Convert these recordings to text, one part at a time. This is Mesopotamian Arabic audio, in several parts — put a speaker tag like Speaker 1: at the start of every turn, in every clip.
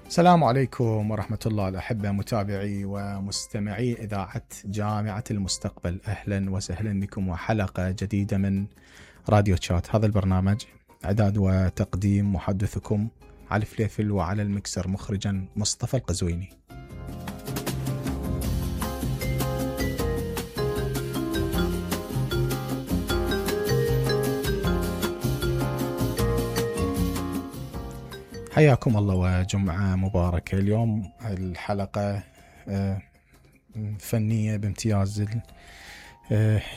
Speaker 1: السلام عليكم ورحمة الله الأحبة متابعي ومستمعي إذاعة جامعة المستقبل. أهلا وسهلا بكم وحلقة جديدة من راديو تشات. هذا البرنامج إعداد وتقديم محدثكم علي فليفل، وعلى المكسر مخرجا مصطفى القزويني. حياكم الله وجمعة مباركة. اليوم الحلقة فنية بامتياز،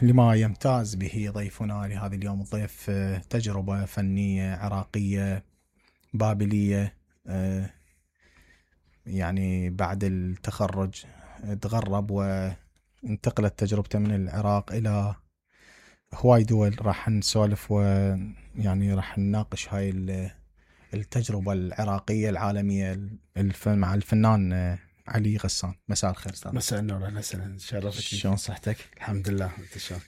Speaker 1: لما يمتاز به ضيفنا لهذا اليوم. الضيف تجربة فنية عراقية بابلية، يعني بعد التخرج تغرب وانتقلت تجربته من العراق إلى هواي دول. راح نسولف ويعني راح نناقش هاي التجربة العراقية العالمية مع الفنان علي غسان. مساء الخير استاذ.
Speaker 2: مساء النور، اهلا وسهلا. شرفتك.
Speaker 1: شلون صحتك؟
Speaker 2: الحمد لله. انت شلون؟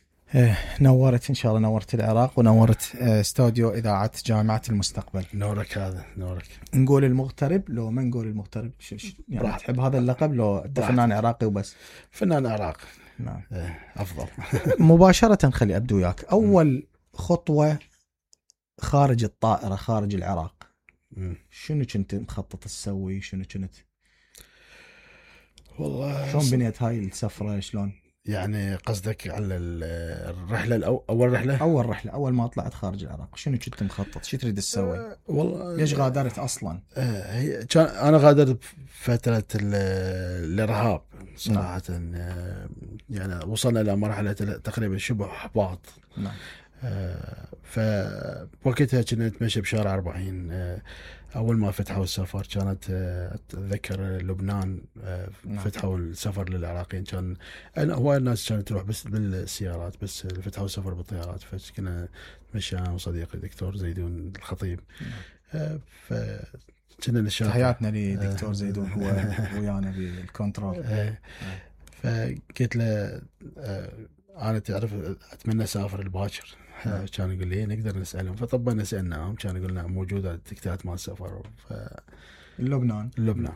Speaker 1: نورت ان شاء الله، نورت العراق ونورت استوديو اذاعة جامعة المستقبل.
Speaker 2: نورك، هذا نورك.
Speaker 1: نقول المغترب لو ما نقول المغترب؟ يعني تحب هذا اللقب لو انت فنان عراقي وبس؟
Speaker 2: فنان عراقي
Speaker 1: نعم.
Speaker 2: افضل.
Speaker 1: مباشرة خلي ابدو وياك. اول خطوة خارج الطائرة، خارج العراق، شنو كنت مخطط تسوي؟ شنو كنت
Speaker 2: والله
Speaker 1: شلون بنيت هاي السفرة؟ شلون
Speaker 2: يعني قصدك على الرحلة أول رحلة؟
Speaker 1: أول ما طلعت خارج العراق شنو كنت مخطط؟ شو تريد تسوي؟
Speaker 2: والله
Speaker 1: ليش غادرت أصلا؟
Speaker 2: هي كان أنا غادرت بفترة الإرهاب صراحة. يعني وصلنا إلى مرحلة تقريبا شبه إحباط.
Speaker 1: نعم.
Speaker 2: فوقتها كنا نتمشى بشارع 40. أول ما فتحوا السفر كانت أتذكر لبنان فتحوا السفر للعراقيين. كان هواي الناس كانت تروح بس بالسيارات، بس فتحوا السفر بالطيارات. فكنا نتمشى أنا وصديقي دكتور زيدون الخطيب. فكنا نشاط.
Speaker 1: تحياتنا لدكتور زيدون، هو ويانا بالكنترول.
Speaker 2: فقلت له أنا تعرف أتمنى أسافر الباكر. كان يقول لي نقدر نسألهم، فطبنا سألناهم، كان يقول لنا موجودة تكتات مال سفر.
Speaker 1: لبنان.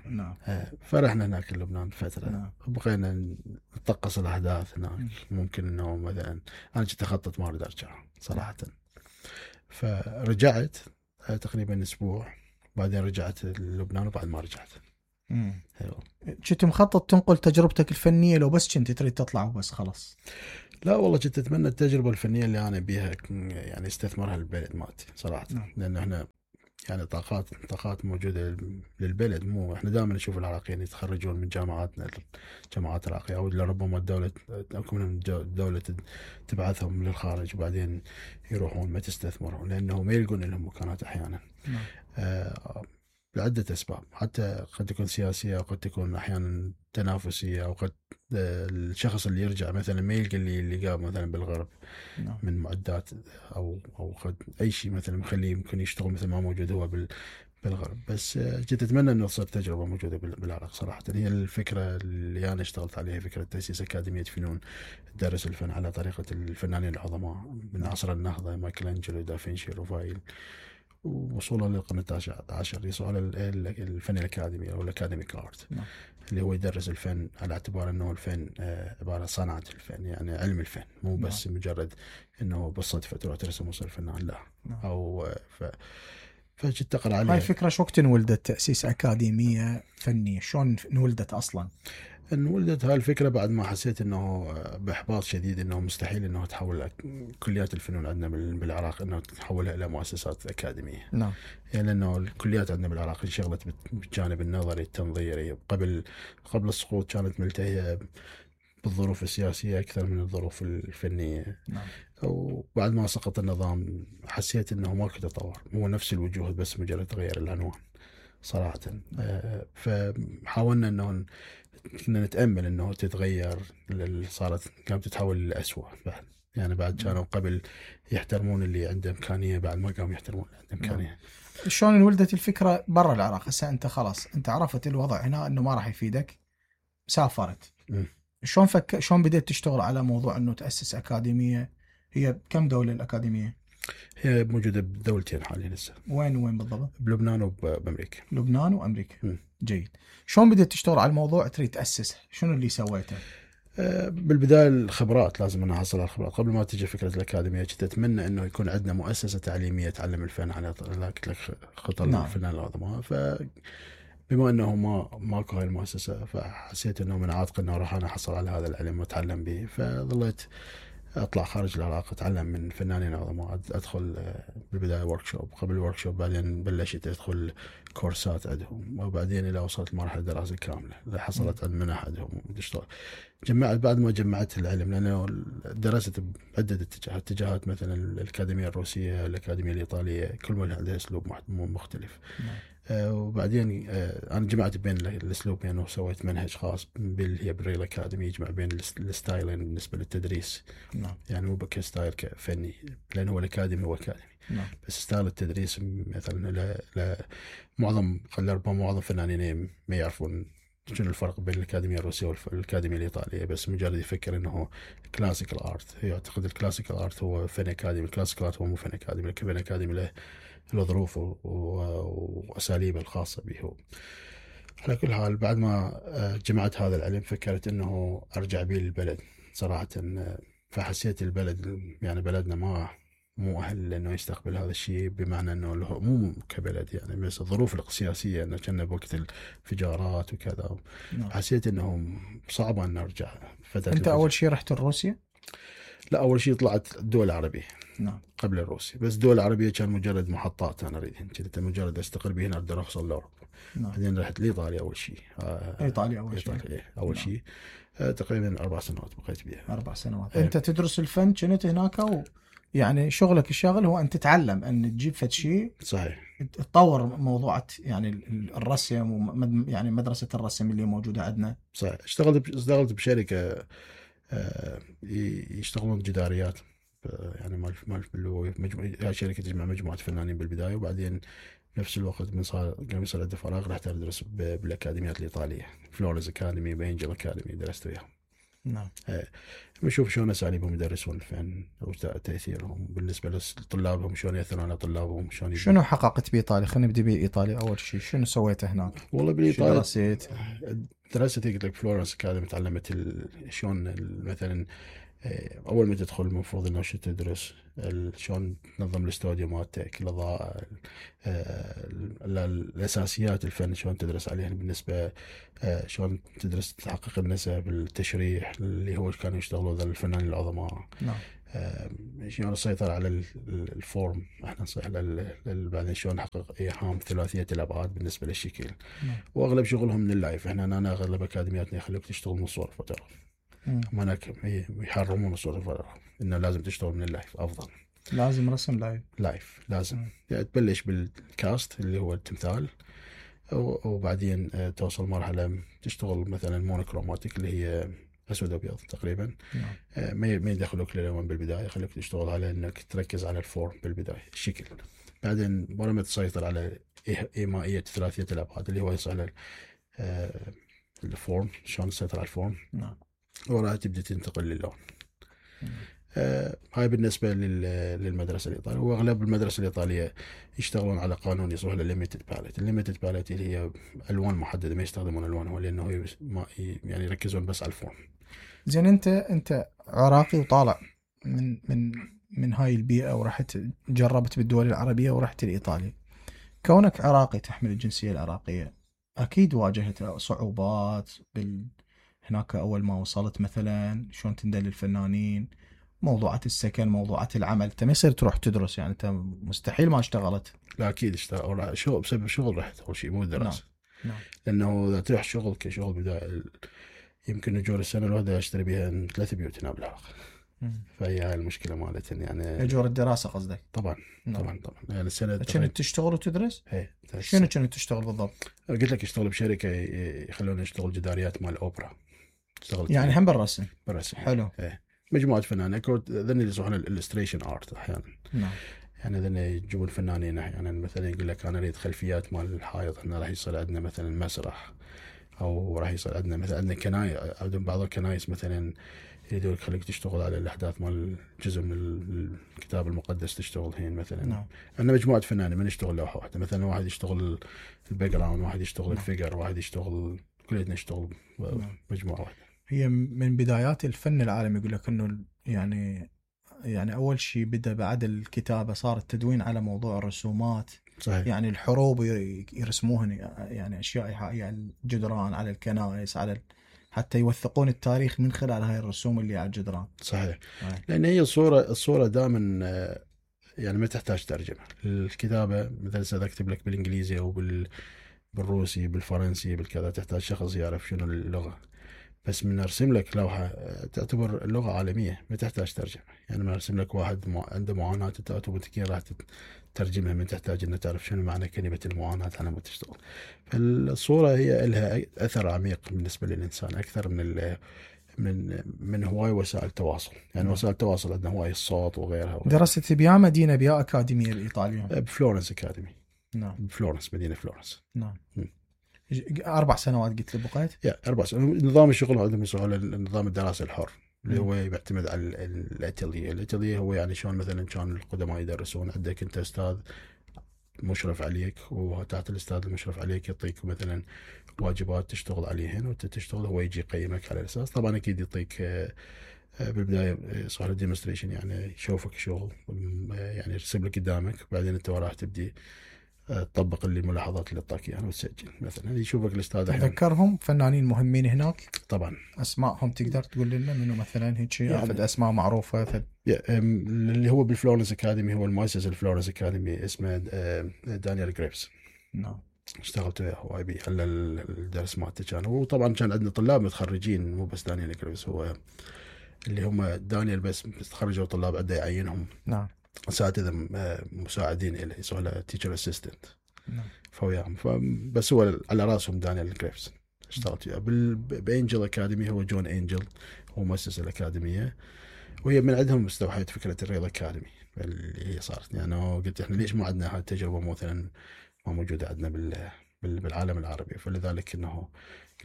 Speaker 2: نعم. فرحنا هناك لبنان فترة. نعم. بقينا نطقس الأحداث هناك. ممكن إنه مثلا أنا كنت أخطط ما أريد أرجع صراحة. فرجعت تقريبا أسبوع، بعدين رجعت لبنان وبعد ما رجعت.
Speaker 1: كنت مخطط تنقل تجربتك الفنية لو بس كنت تريد تطلع وبس خلاص؟
Speaker 2: لا والله كنت أتمنى التجربة الفنية اللي أنا بيها يعني استثمرها البلد مالتي صراحة. لأن احنا يعني طاقات موجودة للبلد. مو احنا دائما نشوف العراقيين يتخرجون من جامعاتنا، جامعات العراقية، أو لربما الدولة الدولة تبعثهم للخارج وبعدين يروحون ما تستثمرهم، لأنه ما يلقون لهم مكانات أحيانا. لعدة أسباب، حتى قد تكون سياسية، أو قد تكون أحيانا تنافسية، أو قد الشخص اللي يرجع مثلا ما يلقى اللي قام مثلا بالغرب من معدات أو قد أي شيء مثلا مخليه يمكن يشتغل مثل ما موجود هو بالغرب. بس كنت أتمنى أنه تصير تجربة موجودة بالعراق صراحة. هي الفكرة اللي أنا اشتغلت عليها، فكرة تأسيس أكاديمية فنون تدرس الفن على طريقة الفنانين العظماء من عصر النهضة، مايكلانجلو، دافنشي، روفايل، ووصولا للقرن العاشر. يسوى على الفن الأكاديمي أو الأكاديميك آرت، اللي هو يدرس الفن على اعتبار أنه الفن عبارة صنعة الفن، يعني علم الفن، مو بس مجرد أنه بالصدفة تروح ترسم وصل فنان، لا. أو فجيت تقرأ عليها.
Speaker 1: هاي الفكرة شو وقت انولدت تأسيس أكاديمية فنية؟ شلون انولدت أصلا؟
Speaker 2: انولدت هاي الفكرة بعد ما حسيت انه باحباط شديد، انه مستحيل انه تحول كليات الفنون عندنا بالعراق انه تحولها الى مؤسسات اكاديمية.
Speaker 1: نعم.
Speaker 2: يعني لانه الكليات عندنا بالعراق انشغلت بالجانب النظري التنظيري. قبل السقوط كانت ملتهية بالظروف السياسية اكثر من الظروف الفنية.
Speaker 1: نعم.
Speaker 2: وبعد ما سقط النظام حسيت انه ماكو تطور، هو نفس الوجوه بس مجرد تغير العنوان صراحة. فحاولنا انه كنا نتأمل انه تتغير، صارت قامت تتحول للأسوأ بعد. يعني بعد كانوا قبل يحترمون اللي عنده إمكانية، بعد ما قاموا يحترمون اللي عنده إمكانية.
Speaker 1: شلون انولدت الفكرة برا العراق؟ هسه انت خلاص انت عرفت الوضع هنا انه ما راح يفيدك، سافرت. شلون بديت تشتغل على موضوع انه تأسس أكاديمية؟ هي كم دولة الأكاديمية؟
Speaker 2: هي موجوده بدولتين حاليا هسه.
Speaker 1: وين بالضبط؟
Speaker 2: بلبنان وبامريكا.
Speaker 1: لبنان وامريكا. جيد. شلون بديت تشتغل على الموضوع تريد تاسس؟ شنو اللي سويته؟
Speaker 2: بالبداية الخبرات لازم أنا أحصل على الخبرات قبل ما تجي فكرة الأكاديمية. كنت أتمنى إنه يكون عندنا مؤسسة تعليمية تعلم الفن على قلت لك خطط الفنان العظماء. فبما إنه ماكو هاي المؤسسة فحسيت إنه من عاتق إنه راح أنا أحصل على هذا العلم وأتعلم به. فظليت أطلع خارج العراق أتعلم من فنانين عظماء. أدخل بالبداية وركشوب، قبل الوركشوب بعدين بلشت أدخل كورسات عندهم، وبعدين إلى وصلت مرحلة دراسة كاملة حصلت عن منح عندهم وتشتغل. جمعت بعد ما جمعت العلم لأنه درست بعدة اتجاهات مثلا الأكاديمية الروسية الأكاديمية الإيطالية كل ما عندها أسلوب مختلف. وبعدين أنا جمعت بين الأسلوبين وسويت منهج خاص هي بالريل أكاديمي يجمع بين الستايلين بالنسبة للتدريس. يعني مو كستايل كفني لأنه هو الأكاديمي هو أكاديمي. بس ستايل التدريس مثلا معظم فنانين ما يعرفون شنو الفرق بين الأكاديمية الروسية والأكاديمية الإيطالية، بس مجرد يفكر إنه كلاسيكال آرت. يعتقد الكلاسيكال آرت هو فن أكاديمي، الكلاسيكال آرت هو مو فن أكاديمي. الفن أكاديمي له ظروف وأساليبه الخاصة به. على كل حال بعد ما جمعت هذا العلم فكرت إنه أرجع به للبلد صراحة. فحسيت البلد يعني بلدنا مو أهل لأنه يستقبل هذا الشيء، بمعنى أنه مو كبلد يعني، بس الظروف السياسية أنه كنا بوقت الانفجارات وكذا. حسيت أنه صعب أن نرجع.
Speaker 1: أنت أول شيء رحت روسيا؟
Speaker 2: لا، أول شيء طلعت الدول العربية قبل الروسيا. بس الدول العربية كان مجرد محطات أنا أريد، كنت مجرد أستقر به هنا أقدر أوصل لأوروبا. بعدين رحت لإيطاليا أول شيء.
Speaker 1: إيطاليا أول شيء.
Speaker 2: تقريبا 4 سنوات بقيت بها.
Speaker 1: 4 سنوات. أنت تدرس الفن كنت هناك يعني شغلك الشاغل هو أن تتعلم أن تجيب فد شيء
Speaker 2: صحيح
Speaker 1: تطور موضوعات يعني الرسم يعني مدرسة الرسم اللي موجودة عندنا.
Speaker 2: صحيح. اشتغلت بشركة يشتغلون جداريات يعني مال هاي شركة تجمع مجموعة فنانين بالبداية، وبعدين نفس الوقت من قام يصير عندي فراغ رحت أدرس بالأكاديميات الإيطالية، فلورنس أكاديمي بإنجل أكاديمي درست وياهم.
Speaker 1: نعم.
Speaker 2: بنشوف شلون أساليبهم يدرسون الفن وتأثيرهم بالنسبة لطلابهم، شلون يأثرون على طلابهم.
Speaker 1: شنو حققت بإيطاليا؟ خلينا نبدأ بإيطاليا. أول شيء شنو سويته هناك؟
Speaker 2: والله بالإيطاليا
Speaker 1: درست
Speaker 2: قلت لك فلورنس أكاديمي، تعلمت شلون مثلا أول ما تدخل المفروض إنه شو تدرس شلون تنظم الاستوديو مالتك، الإضاءة، الأساسيات الفن شلون تدرس عليها بالنسبة شلون تدرس تحقق النسب، التشريح اللي هو كانوا يشتغلوا ذا الفنانين العظماء. شلون السيطرة على الفورم، احنا نصيح بعدين شلون نحقق ايهام ثلاثية الابعاد بالنسبة للشكل. واغلب شغلهم من اللايف. احنا اغلب اكاديمياتنا يخلوك تشتغل من صور فوتوغراف، هناك يحرمون صور الفوتوغراف، انه لازم تشتغل من اللايف افضل.
Speaker 1: لازم رسم
Speaker 2: لايف لازم يعني تبلش بالكاست اللي هو التمثال، وبعدين توصل مرحلة تشتغل مثلا مونوكروماتيك اللي هي اسود ابيض تقريبا. ما يدخلوك للالوان بالبدايه، يخليك تشتغل على انك تركز على الفورم بالبدايه الشكل. بعدين ورا تسيطر على ايمائيه ثلاثيه الابعاد اللي هو يصير الفورم، شلون تسيطر على الفورم. وراها تبدا تنتقل للون. هاي بالنسبه للمدرسه الايطاليه. واغلب المدرسه الايطاليه يشتغلون على قانون يصير له ليميتد باليت. الليميتد باليت اللي هي الوان محدده، ما يستخدمون الوان هو لانه يعني يركزون بس على الفورم.
Speaker 1: زين انت عراقي وطالع من هاي البيئه ورحت جربت بالدول العربيه ورحت لايطاليا. كونك عراقي تحمل الجنسيه العراقيه، اكيد واجهت صعوبات هناك اول ما وصلت، مثلا شلون تندل الفنانين، موضوعات السكن، موضوعات العمل. انت ما يصير تروح تدرس يعني، انت مستحيل ما اشتغلت.
Speaker 2: لا اكيد اشتغل شغل بسبب شغل رحت اول شيء مو دراسه. نعم. لانه اذا تروح شغل كشغل بدايه يمكن اجور السنه الواحده اشتري بها 3 بيوت هنا بالعراق. فهي هاي المشكله مالتها يعني.
Speaker 1: اجور الدراسه قصدك؟
Speaker 2: طبعا. نعم. طبعا يعني السنه
Speaker 1: كنت تشتغل وتدرس؟
Speaker 2: ايه.
Speaker 1: شنو كنت تشتغل بالضبط؟
Speaker 2: قلت لك اشتغل بشركه يخلوني اشتغل جداريات مال اوبرا.
Speaker 1: اشتغلت يعني هم بالرسم. حلو.
Speaker 2: ايه. مجموعه فنانين ذن اللي يسمونها الالستريشن ارت احيانا.
Speaker 1: نعم.
Speaker 2: يعني ذن يجيبون الفنانين احيانا مثلا يقول لك انا اريد خلفيات مال الحائط، احنا راح يصير عندنا مثلا مسرح، او راح يصير عندنا مثلا عندنا كنايس، بعض الكنايس مثلا يريدوا يخليك تشتغل على الأحداث مال جزء من الكتاب المقدس تشتغل هين مثلا.
Speaker 1: نعم.
Speaker 2: أنا مجموعة فنانين ما نشتغل لوحة واحدة، مثلا واحد يشتغل الباك جراوند، واحد يشتغل الفيجر، واحد يشتغل كلنا نشتغل مجموعة واحدة.
Speaker 1: هي من بدايات الفن العالمي يقول لك إنه يعني أول شيء بدأ بعد الكتابة صار التدوين على موضوع الرسومات.
Speaker 2: صحيح.
Speaker 1: يعني الحروب يرسموهن يعني أشياء إيحائية على الجدران، على الكنائس، على حتى يوثقون التاريخ من خلال هاي الرسوم اللي على الجدران.
Speaker 2: صحيح. لأن هي الصورة دائما يعني ما تحتاج ترجمة. الكتابة مثلا إذا أكتب لك بالإنجليزي أو بالروسي بالفرنسي بالكذا تحتاج شخص يعرف شنو اللغة، بس من أرسم لك لوحة تعتبر اللغة عالمية ما تحتاج ترجمة. يعني ما أرسم لك واحد عنده معاناة أنت أوتوماتيكيا راح تترجمها من تحتاج أن تعرف شنو معنى كلمة المعاناة على ما تشتغل. فالصورة هي لها أثر عميق بالنسبة للإنسان أكثر من هواي وسائل تواصل. يعني وسائل التواصل عندنا هواي الصوت وغيرها.
Speaker 1: درست بأي مدينة بأي أكاديمية الإيطالية؟
Speaker 2: بفلورنس أكاديمي.
Speaker 1: نعم.
Speaker 2: بفلورنس، مدينة فلورنس.
Speaker 1: نعم. 4 سنوات قلت لي بقيت؟
Speaker 2: 4 سنوات. نظام الشغل عندهم يسمونه نظام الدراسة الحر اللي هو يعتمد على الاتيليه هو يعني شلون مثلا كان القدماء يدرسون، عندك انت استاذ مشرف عليك وتحت الاستاذ المشرف عليك يعطيك مثلا واجبات تشتغل عليهن وانت تشتغل، هو يجي يقيمك على الاساس. طبعا اكيد يعطيك بالبدايه صار ديمونستريشن يعني يشوفك شغل يعني يرسم لك قدامك، بعدين انت وراح تبدي تطبق اللي الملاحظات اللي اعطاك اياها وتسجل. مثلا يشوفك الاستاذ
Speaker 1: تذكرهم فنانين مهمين هناك؟
Speaker 2: طبعا.
Speaker 1: اسمائهم تقدر تقول لنا منو مثلا هيك يعني اسماء معروفه؟
Speaker 2: اللي هو بالفلورنس اكاديمي هو المؤسس الفلورنس اكاديمي اسمه دانيال جريبس.
Speaker 1: نعم.
Speaker 2: اشتغلت وياه هواي بيه على الدرس مالته كان. وطبعا كان عندنا طلاب متخرجين مو بس دانيال جريبس، هو اللي هم دانيال بس تخرجوا طلاب عنده يعينهم.
Speaker 1: نعم.
Speaker 2: اساتذه مساعدين له يسووا له تيتشر اسيستنت.
Speaker 1: نعم.
Speaker 2: فوياهم بس هو على راسهم دانيال جريبس اشتغلت وياه. بانجل اكاديمي هو جون انجل هو مؤسس الاكاديميه، وهي من عندهم استوحيت فكره الرياض اكاديمي اللي هي صارت. يعني قلت احنا ليش ما عندنا هاي التجربه مثلا ما موجوده عندنا بالعالم العربي، فلذلك انه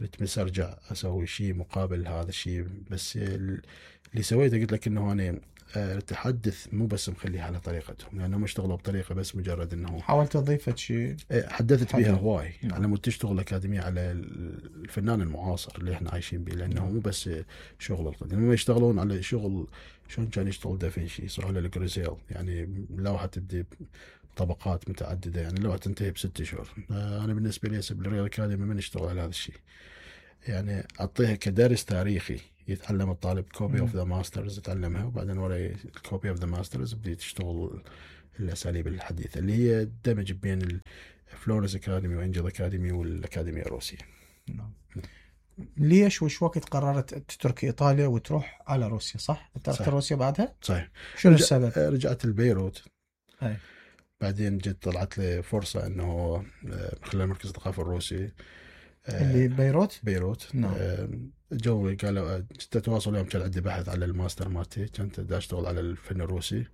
Speaker 2: قلت بس ارجع اسوي شيء مقابل هذا الشيء. بس اللي سويته قلت لك انه انا تحدث مو بس مخليها على طريقتهم، لانهم اشتغلوا بطريقه بس مجرد انه
Speaker 1: حاولت اضيف شيء
Speaker 2: حدثت بها هواي. يعني لما تشتغل اكاديميه على الفنان المعاصر اللي احنا عايشين به، لانه مو بس شغل القديم، لما يشتغلون على شغل شلون كان يشتغل دافنشي يصير على الجريزيل، يعني لوحه تبدي طبقات متعدده، يعني لوحه تنتهي ب6 شهور. انا بالنسبه لي بالرياض اكاديمي ما نشتغل على هذا الشيء، يعني اعطيها كدرس تاريخي يتعلم الطالب كوبي اوف ذا ماسترز يتعلمها، وبعدين ورا الكوبي اوف ذا ماسترز بدي تشتغل الاساليب الحديثه اللي هي دمج بين الفلورنس اكاديمي وانجل اكاديمي والاكاديميه الروسيه.
Speaker 1: نعم. ليش وش وقت قررت تترك ايطاليا وتروح على روسيا؟ صح؟ تركت روسيا بعدها؟
Speaker 2: صحيح.
Speaker 1: شنو السبب؟
Speaker 2: رجعت لبيروت.
Speaker 1: أي.
Speaker 2: بعدين جت طلعت لي فرصه انه من خلال مركز الثقافه الروسي
Speaker 1: اللي
Speaker 2: بيروت.
Speaker 1: نعم.
Speaker 2: جو قالوا جت اتواصل يوم كان عندي بحث على الماستر مالتي، كنت دا اشتغل على الفن الروسي.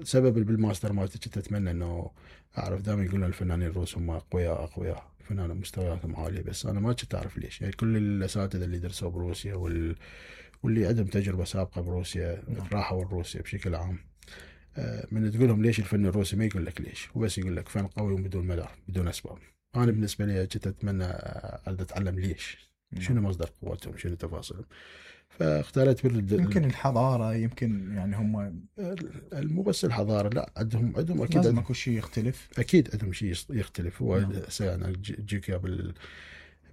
Speaker 2: سبب بالماستر مالتي كنت اتمنى انه اعرف، دائما يقولون الفنانين الروس هم اقوياء فنانين مستوياتهم عاليه، بس انا ما كنت اعرف ليش. يعني كل الاساتذه اللي درسوا بروسيا واللي عندهم تجربه سابقه بروسيا راحوا روسيا بشكل عام، من تقولهم ليش الفن الروسي ما يقول لك ليش، وبس يقول لك فن قوي وبدون مدار بدون اسباب. انا بالنسبه لي كنت اتمنى اتعلم ليش، شنو مصدر قوتهم، شنو تفاصيلهم. فاختارت
Speaker 1: يمكن الحضاره، يمكن يعني هم
Speaker 2: مو بس الحضاره، لا عندهم اكيد
Speaker 1: لازم اكو شيء يختلف،
Speaker 2: اكيد عندهم شيء يختلف. هو انا جيك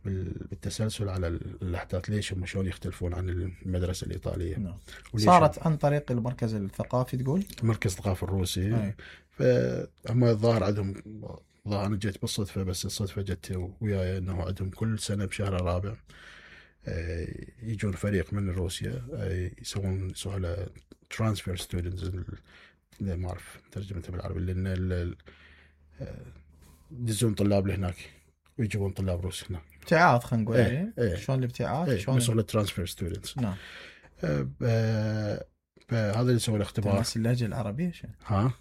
Speaker 2: بالتسلسل على الاحداث ليش هم شلون يختلفون عن المدرسه الايطاليه.
Speaker 1: نعم. صارت عن طريق المركز الثقافي تقول؟
Speaker 2: المركز الثقافي الروسي. فهم الظاهر عندهم، انا جيت بالصدفه، بس الصدفه جت وياي انه عندهم كل سنه بشهر الرابع يجون فريق من روسيا يسوون على ترانسفير ستودنتس، ما اعرف ترجمتها بالعربي، لان يدزون طلاب لهناك ويجيبون طلاب روس هنا.
Speaker 1: ابتعاث خلينا نقول. شلون الابتعاث؟
Speaker 2: شلون يسوون ترانسفير ستودنتس.
Speaker 1: نعم.
Speaker 2: فهذا اللي يسوي الاختبار.
Speaker 1: الناس اللهجه العربيه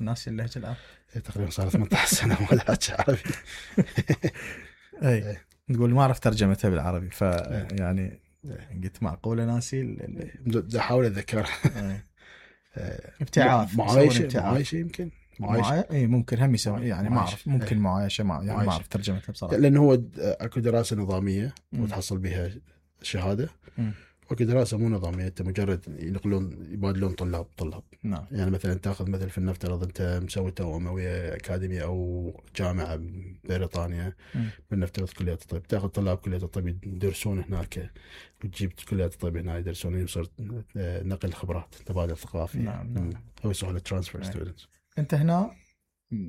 Speaker 1: الناس اللهجه العربيه
Speaker 2: تقريبا صار 18 سنه ما احكي عربي.
Speaker 1: اي تقول ما اعرف ترجمتها بالعربي، يعني قلت معقوله ناسي
Speaker 2: احاول اتذكر.
Speaker 1: ابتعاث،
Speaker 2: معايشه يمكن
Speaker 1: اي ممكن هم يسمي يعني ما اعرف، ممكن معايشه يعني ما اعرف ترجمتها بصراحه.
Speaker 2: لان هو اكو دراسه نظاميه وتحصل بها شهاده، واكو دراسه مو نظاميه، انت مجرد يبادلون طلاب.
Speaker 1: نعم.
Speaker 2: يعني مثلا تاخذ مثل في النفترض انت مسوي توأمه ويا اكاديميه او جامعه بريطانيا، بالنفترض كليه الطب، تاخذ طلاب كليه الطب يدرسون هناك، وتجيب كليه الطب هنا يدرسون، يصير نقل خبرات، تبادل ثقافي.
Speaker 1: نعم.
Speaker 2: هو يسمونه ترانسفير ستودنتس.
Speaker 1: انت هنا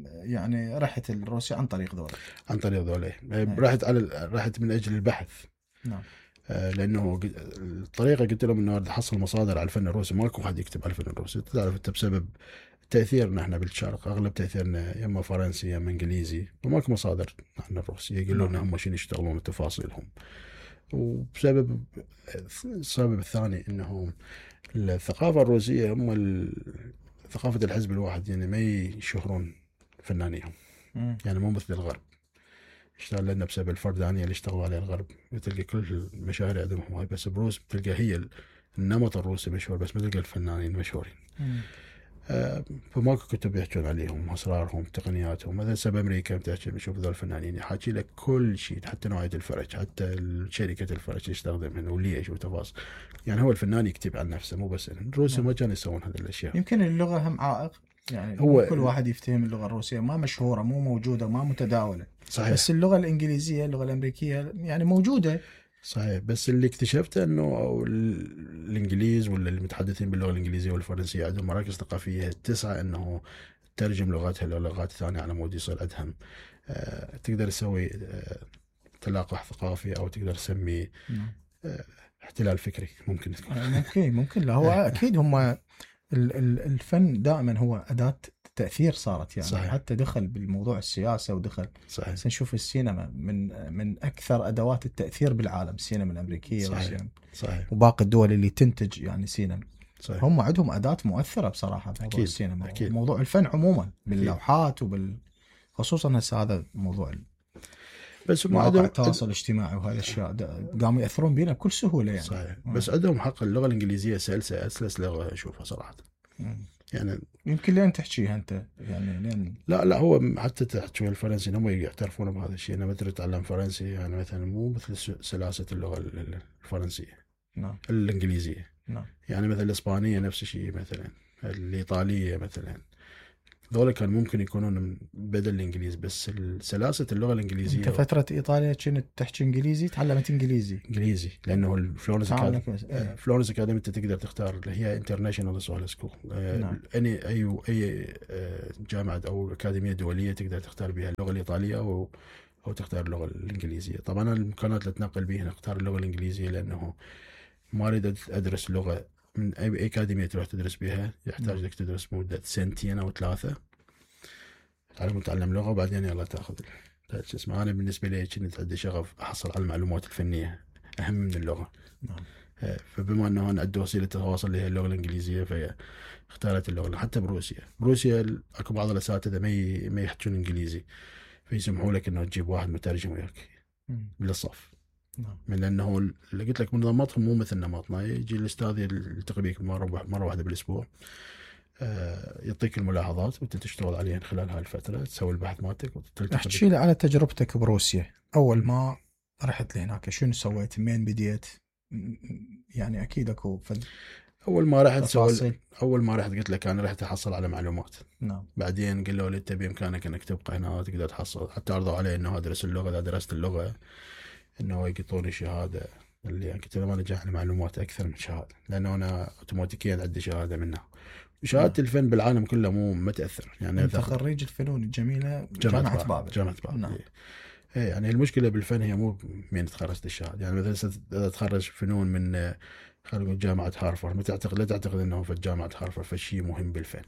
Speaker 1: يعني رحت لروسيا عن طريق ذولا؟
Speaker 2: عن طريق ذولا. رحت من اجل البحث.
Speaker 1: نعم.
Speaker 2: لانه الطريقه قلت لهم انه احصل مصادر على الفن الروسي، ماكو حد يكتب على الفن الروسي. تعرف انت بسبب تاثيرنا احنا بالشرق، اغلب تاثيرنا يا اما فرنسي يا اما انجليزي، وماكو مصادر عن الروسي يقولون لنا هم شنو يشتغلون وتفاصيلهم. وبسبب السبب الثاني انه الثقافه الروسيه هم ثقافه الحزب الواحد، يعني ما يشهرون فنانيهم. يعني مو مثل الغرب اشتغل لنا بسبب الفردانية اللي اشتغلوا عليه الغرب، تلقى كل المشاهير عندهم هواي، بس بروس بتلقى هي النمط الروسي مشهور، بس ما تلقى الفنانين مشهورين. فماكو كتب يحكون عليهم، اسرارهم، تقنياتهم. مثلا سبب امريكا بتحكي بشوف ذول الفنانين يحكي لك كل شيء، حتى نوعيه الفرج، حتى شركه الفرج اللي يستخدمها وليش وتفاصيل. يعني هو الفنان يكتب عن نفسه، مو بس الروس ما كانوا يسوون هذه الاشياء.
Speaker 1: يمكن اللغه هم عائق، يعني هو كل واحد يفتهم اللغه الروسيه، ما مشهوره، مو موجوده، ما متداوله.
Speaker 2: صحيح.
Speaker 1: بس اللغه الانجليزيه، اللغه الامريكيه يعني موجوده.
Speaker 2: صحيح. بس اللي اكتشفته انه الانجليز ولا المتحدثين باللغه الانجليزيه والفرنسيه عندهم مراكز ثقافيه تسعى انه ترجم لغاتها للغات ثانيه على مود يصير عندهم تقدر تسوي تلاقح ثقافي، او تقدر تسميه احتلال فكري. ممكن
Speaker 1: ممكن لا هو اكيد هم الفن دائما هو اداه تاثير صارت يعني.
Speaker 2: صحيح.
Speaker 1: حتى دخل بالموضوع السياسه ودخل.
Speaker 2: صحيح.
Speaker 1: نشوف السينما من اكثر ادوات التاثير بالعالم، السينما الامريكيه.
Speaker 2: صحيح. صحيح.
Speaker 1: وباقي الدول اللي تنتج يعني سينما.
Speaker 2: صحيح.
Speaker 1: هم عندهم اداه مؤثره بصراحه بموضوع السينما.
Speaker 2: أكيد.
Speaker 1: موضوع الفن عموما باللوحات خصوصا هسه هذا موضوع
Speaker 2: بس
Speaker 1: مواقع التواصل الاجتماعي وهذه الاشياء قاموا ياثرون بينا بكل سهوله يعني.
Speaker 2: صحيح. بس عندهم حق اللغه الانجليزيه اسلس لغه اشوفها صراحه. يعني
Speaker 1: يمكن لين تحكيها انت يعني لين
Speaker 2: لا هو حتى تحكي الفرنسي هم يعترفون بهذا الشيء. انا مثل اتعلم فرنسي يعني مثلا مو مثل سلاسه اللغه الفرنسيه.
Speaker 1: نعم.
Speaker 2: الانجليزيه.
Speaker 1: نعم.
Speaker 2: يعني مثل الاسبانيه نفس الشيء، مثلا الايطاليه مثلا، ذولا كان ممكن يكونون بدل الانجليزي. بس سلاسه اللغه الانجليزيه.
Speaker 1: انت فتره ايطاليا كنت تحكي انجليزي، تعلمت انجليزي
Speaker 2: لانه فلورنس اكاديمي انت تقدر تختار اللي هي انترناشونال سوال سكول. اي جامعه او اكاديميه دوليه تقدر تختار بها اللغه الايطاليه او تختار اللغه الانجليزيه. طبعا الامكانات اللي تنقل بيها اختار اللغه الانجليزيه، لانه ما اريد ادرس لغه من اي اكاديميه تروح تدرس بها يحتاج لك تدرس مده 2 أو 3 تعلم لغه، وبعدين يلا تاخذ اسمع. انا بالنسبه لي كنت عندي شغف احصل على المعلومات الفنيه اهم من اللغه.
Speaker 1: نعم.
Speaker 2: فبما انه انا عندي وسيله تواصل اللي هي اللغه الانجليزيه، فاختارت اللغه. حتى بروسيا اكو بعض الاساتذه ما يحكون انجليزي، فيسمحوا لك انه تجيب واحد مترجم وياك بالصف.
Speaker 1: نعم.
Speaker 2: من لانه اللي قلت لك منظماتهم مو مثل نمطنا. يجي الاستاذ يلتقي بك مره واحده بالاسبوع، يعطيك الملاحظات وانت تشتغل عليها خلال هاي الفتره، تسوي البحث مالتك.
Speaker 1: احكي لي على تجربتك بروسيا. اول ما رحت لهناك شنو سويت؟ منين بديت؟ يعني اكيد اكو
Speaker 2: اول ما رحت قلت لك انا رحت احصل على معلومات.
Speaker 1: نعم.
Speaker 2: بعدين قالوا لي انت بامكانك انك تبقى هنا تقدر تحصل. حتى عرضوا علي انه ادرس اللغه. اذا درست اللغه انه يقطوني شهاده، اللي يعني قلت لهم انا جاي معلومات اكثر من شهاده، لانه انا اوتوماتيكيا عندي شهاده منها. شهاده الفن بالعالم كله ما تاثر. يعني
Speaker 1: انت خريج الفنون الجميله جامعه بابل.
Speaker 2: نعم. يعني المشكله بالفن هي مو من تخرجت الشهاده. يعني مثلا اذا تخرج فنون من خلينا نقول جامعه هارفارد، لا تعتقد انه في جامعه هارفارد فشي مهم بالفن.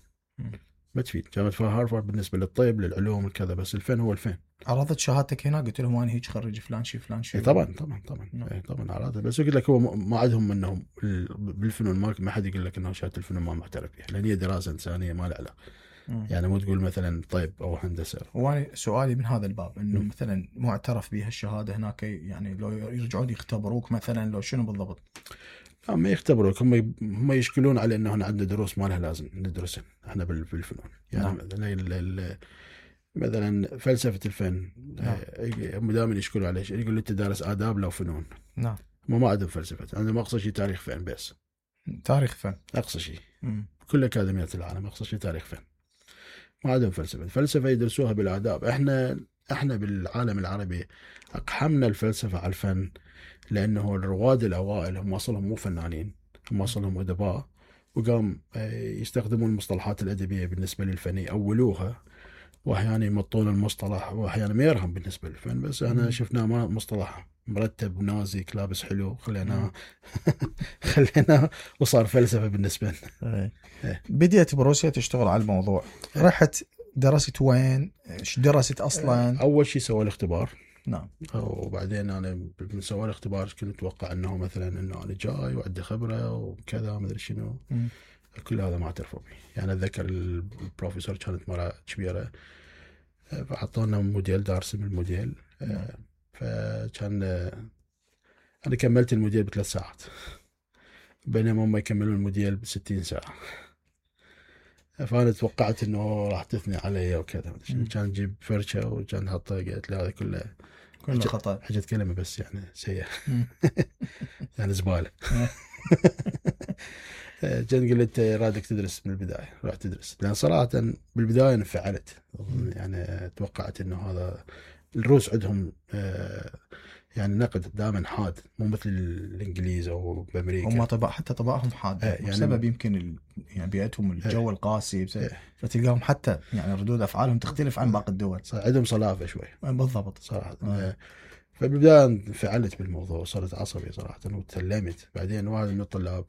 Speaker 2: ما تفيد. جامعه هارفارد بالنسبه للطب للعلوم الكذا، بس الفن هو الفن.
Speaker 1: عرضت شهادتك هنا قلت لهم انا هيك خريج فلان شيء فلان شيء؟
Speaker 2: طبعا عرضت. بس يقول لك هو ما عندهم انهم بالفنون ما حد يقول لك انه شهاده الفنون ما معترف بها، لان هي دراسه انسانيه ما لها علاقه. يعني مو تقول مثلا طيب او هندسه.
Speaker 1: وانا سؤالي من هذا الباب انه مثلا معترف بها الشهاده هناك، يعني لو يرجعون يختبروك مثلا لو شنو بالضبط؟
Speaker 2: ما يختبروك، هم يشكلون على انه احنا عندنا دروس ما لها لازم ندرسها احنا بالفنون. يعني مثلا فلسفه الفن هم دائما يشكلوا عليه، يقول لي انت دارس آداب لو فنون.
Speaker 1: نعم.
Speaker 2: هم ما عندهم فلسفه، عندهم اقصى شيء تاريخ فن بس.
Speaker 1: تاريخ فن
Speaker 2: اقصى شيء. كل اكاديميات العالم اقصى شيء تاريخ فن، ما عندهم فلسفه. الفلسفه يدرسوها بالآداب. احنا بالعالم العربي اقحمنا الفلسفه على الفن، لانه الرواد الاوائل هم اصلهم مو فنانين، هم اصلهم ادباء، وقام يستخدمون المصطلحات الادبيه بالنسبه للفن يأولوها، واحيانا يمطون المصطلح، واحيانا ما يرهم بالنسبه للفن. بس احنا شفناه مصطلح مرتب نازك لابس حلو خليناه خليناه وصار فلسفه بالنسبه لنا.
Speaker 1: بديت بروسيا تشتغل على الموضوع، رحت درست وين؟ ايش درست اصلا؟
Speaker 2: اول شيء سوى الاختبار.
Speaker 1: نعم.
Speaker 2: وبعدين انا من سوى الاختبار كنت اتوقع انه مثلا انه انا جاي وعندي خبره وكذا ما ادري شنو. كل هذا ما اعترفوا به. يعني اتذكر البروفيسور كانت مرة كبيره، فحطونا موديل دارس من الموديل. فكان انا كملت الموديل ب3 ساعات، بينما هم يكملون الموديل ب60 ساعه. فانا توقعت انه راح تثني علي وكذا. كان نجيب فرشه وكان نحطها، قالت لي هذا كله
Speaker 1: خطا،
Speaker 2: حاجه كلمه بس يعني سيئه يعني زباله. كان قلت رادك تدرس من البدايه، راح تدرس. لان صراحه بالبدايه انفعلت، يعني توقعت انه هذا الروس عندهم يعني نقد دائما حاد، مو مثل الانجليز او بامريكا.
Speaker 1: هم حتى طباعهم حاده، يعني بسبب يمكن يعني بيئتهم الجو القاسي، فتلقاهم حتى يعني ردود افعالهم تختلف عن باقي الدول.
Speaker 2: عندهم صلافه شوي.
Speaker 1: بالضبط
Speaker 2: صراحه. فبالبدايه انفعلت بالموضوع، صرت عصبي صراحه وتكلمت. بعدين واحد من الطلاب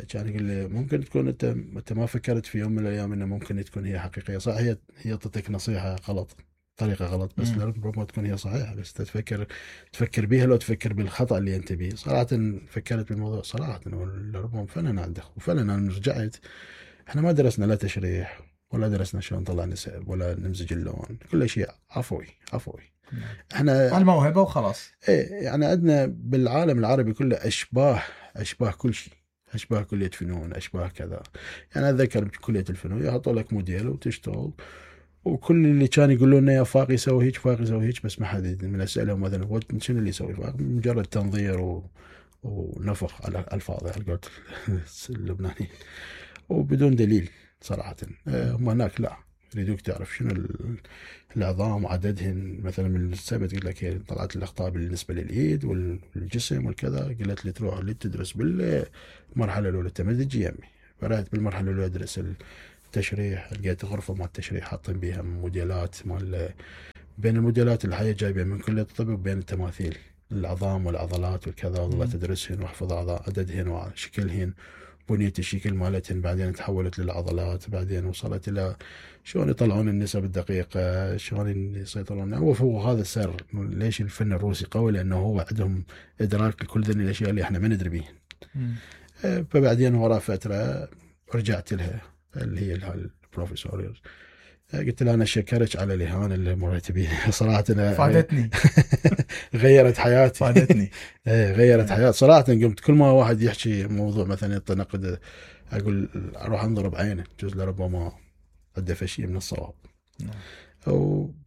Speaker 2: كان يقول لي ممكن تكون انت ما فكرت في يوم من الايام انه ممكن تكون هي حقيقيه. صح، هي تعطيك نصيحه غلط، طريقه غلط، بس ربما تكون هي صحيحه، بس تفكر بيها لو تفكر بالخطا اللي انت بيه. صراحه فكرت بالموضوع صراحه، ربما فعلا عنده. وفعلا انا رجعت، احنا ما درسنا لا تشريح ولا درسنا شلون نطلع نسب ولا نمزج اللون، كل شيء عفوي. احنا
Speaker 1: الموهبه وخلاص.
Speaker 2: يعني عندنا بالعالم العربي كله اشباه كل شيء، اشباه كليه فنون، اشباه كذا. يعني اتذكر بكليه الفنون يحطوا لك موديل وتشتغل، وكل اللي كان يقولون لنا يا فاقي يسوي هيك، فاقي يسوي هيك، بس ما حد من اسالهم مثلا شنو اللي يسوي فاقي، مجرد تنظير ونفخ على الفاظ على قولة اللبنانيين وبدون دليل صراحه. هم هناك لا، يريدوك تعرف شنو العظام وعددهن. مثلا من السبت قلت لك هي طلعت الاخطاء بالنسبه للايد والجسم والكذا، قلت لي تروح اللي تدرس بالمرحله الاولى تمدج يمي. فرحت بالمرحله الاولى ادرس التشريح، لقيت غرفه مال التشريح حاطين بيها موديلات مال، بين الموديلات الحياه جايبه من كليه الطب، وبين التماثيل العظام والعضلات والكذا، والله تدرسهن واحفظ عددهن وشكلهن، بنية الشكل مالتهن. بعدين تحولت للعضلات، بعدين وصلت إلى شلون يطلعون النسب الدقيقة، شلون يسيطرون. هو هذا السر ليش الفن الروسي قوي، لأنه هو عندهم إدراك لكل ذي الأشياء اللي إحنا ما ندري بيهن. فبعدين وراء فترة رجعت لها اللي هي البروفيسور، قلت له أنا شكرك على الإهانة اللي مريت بيها صراحة.
Speaker 1: فادتني
Speaker 2: غيرت حياتي.
Speaker 1: فادتني.
Speaker 2: غيرت حياتي صراحة. قمت كل ما واحد يحكي موضوع مثلا يتنقد، أقول أروح أنظر بعينه، جزء لربما عنده شيء من الصواب.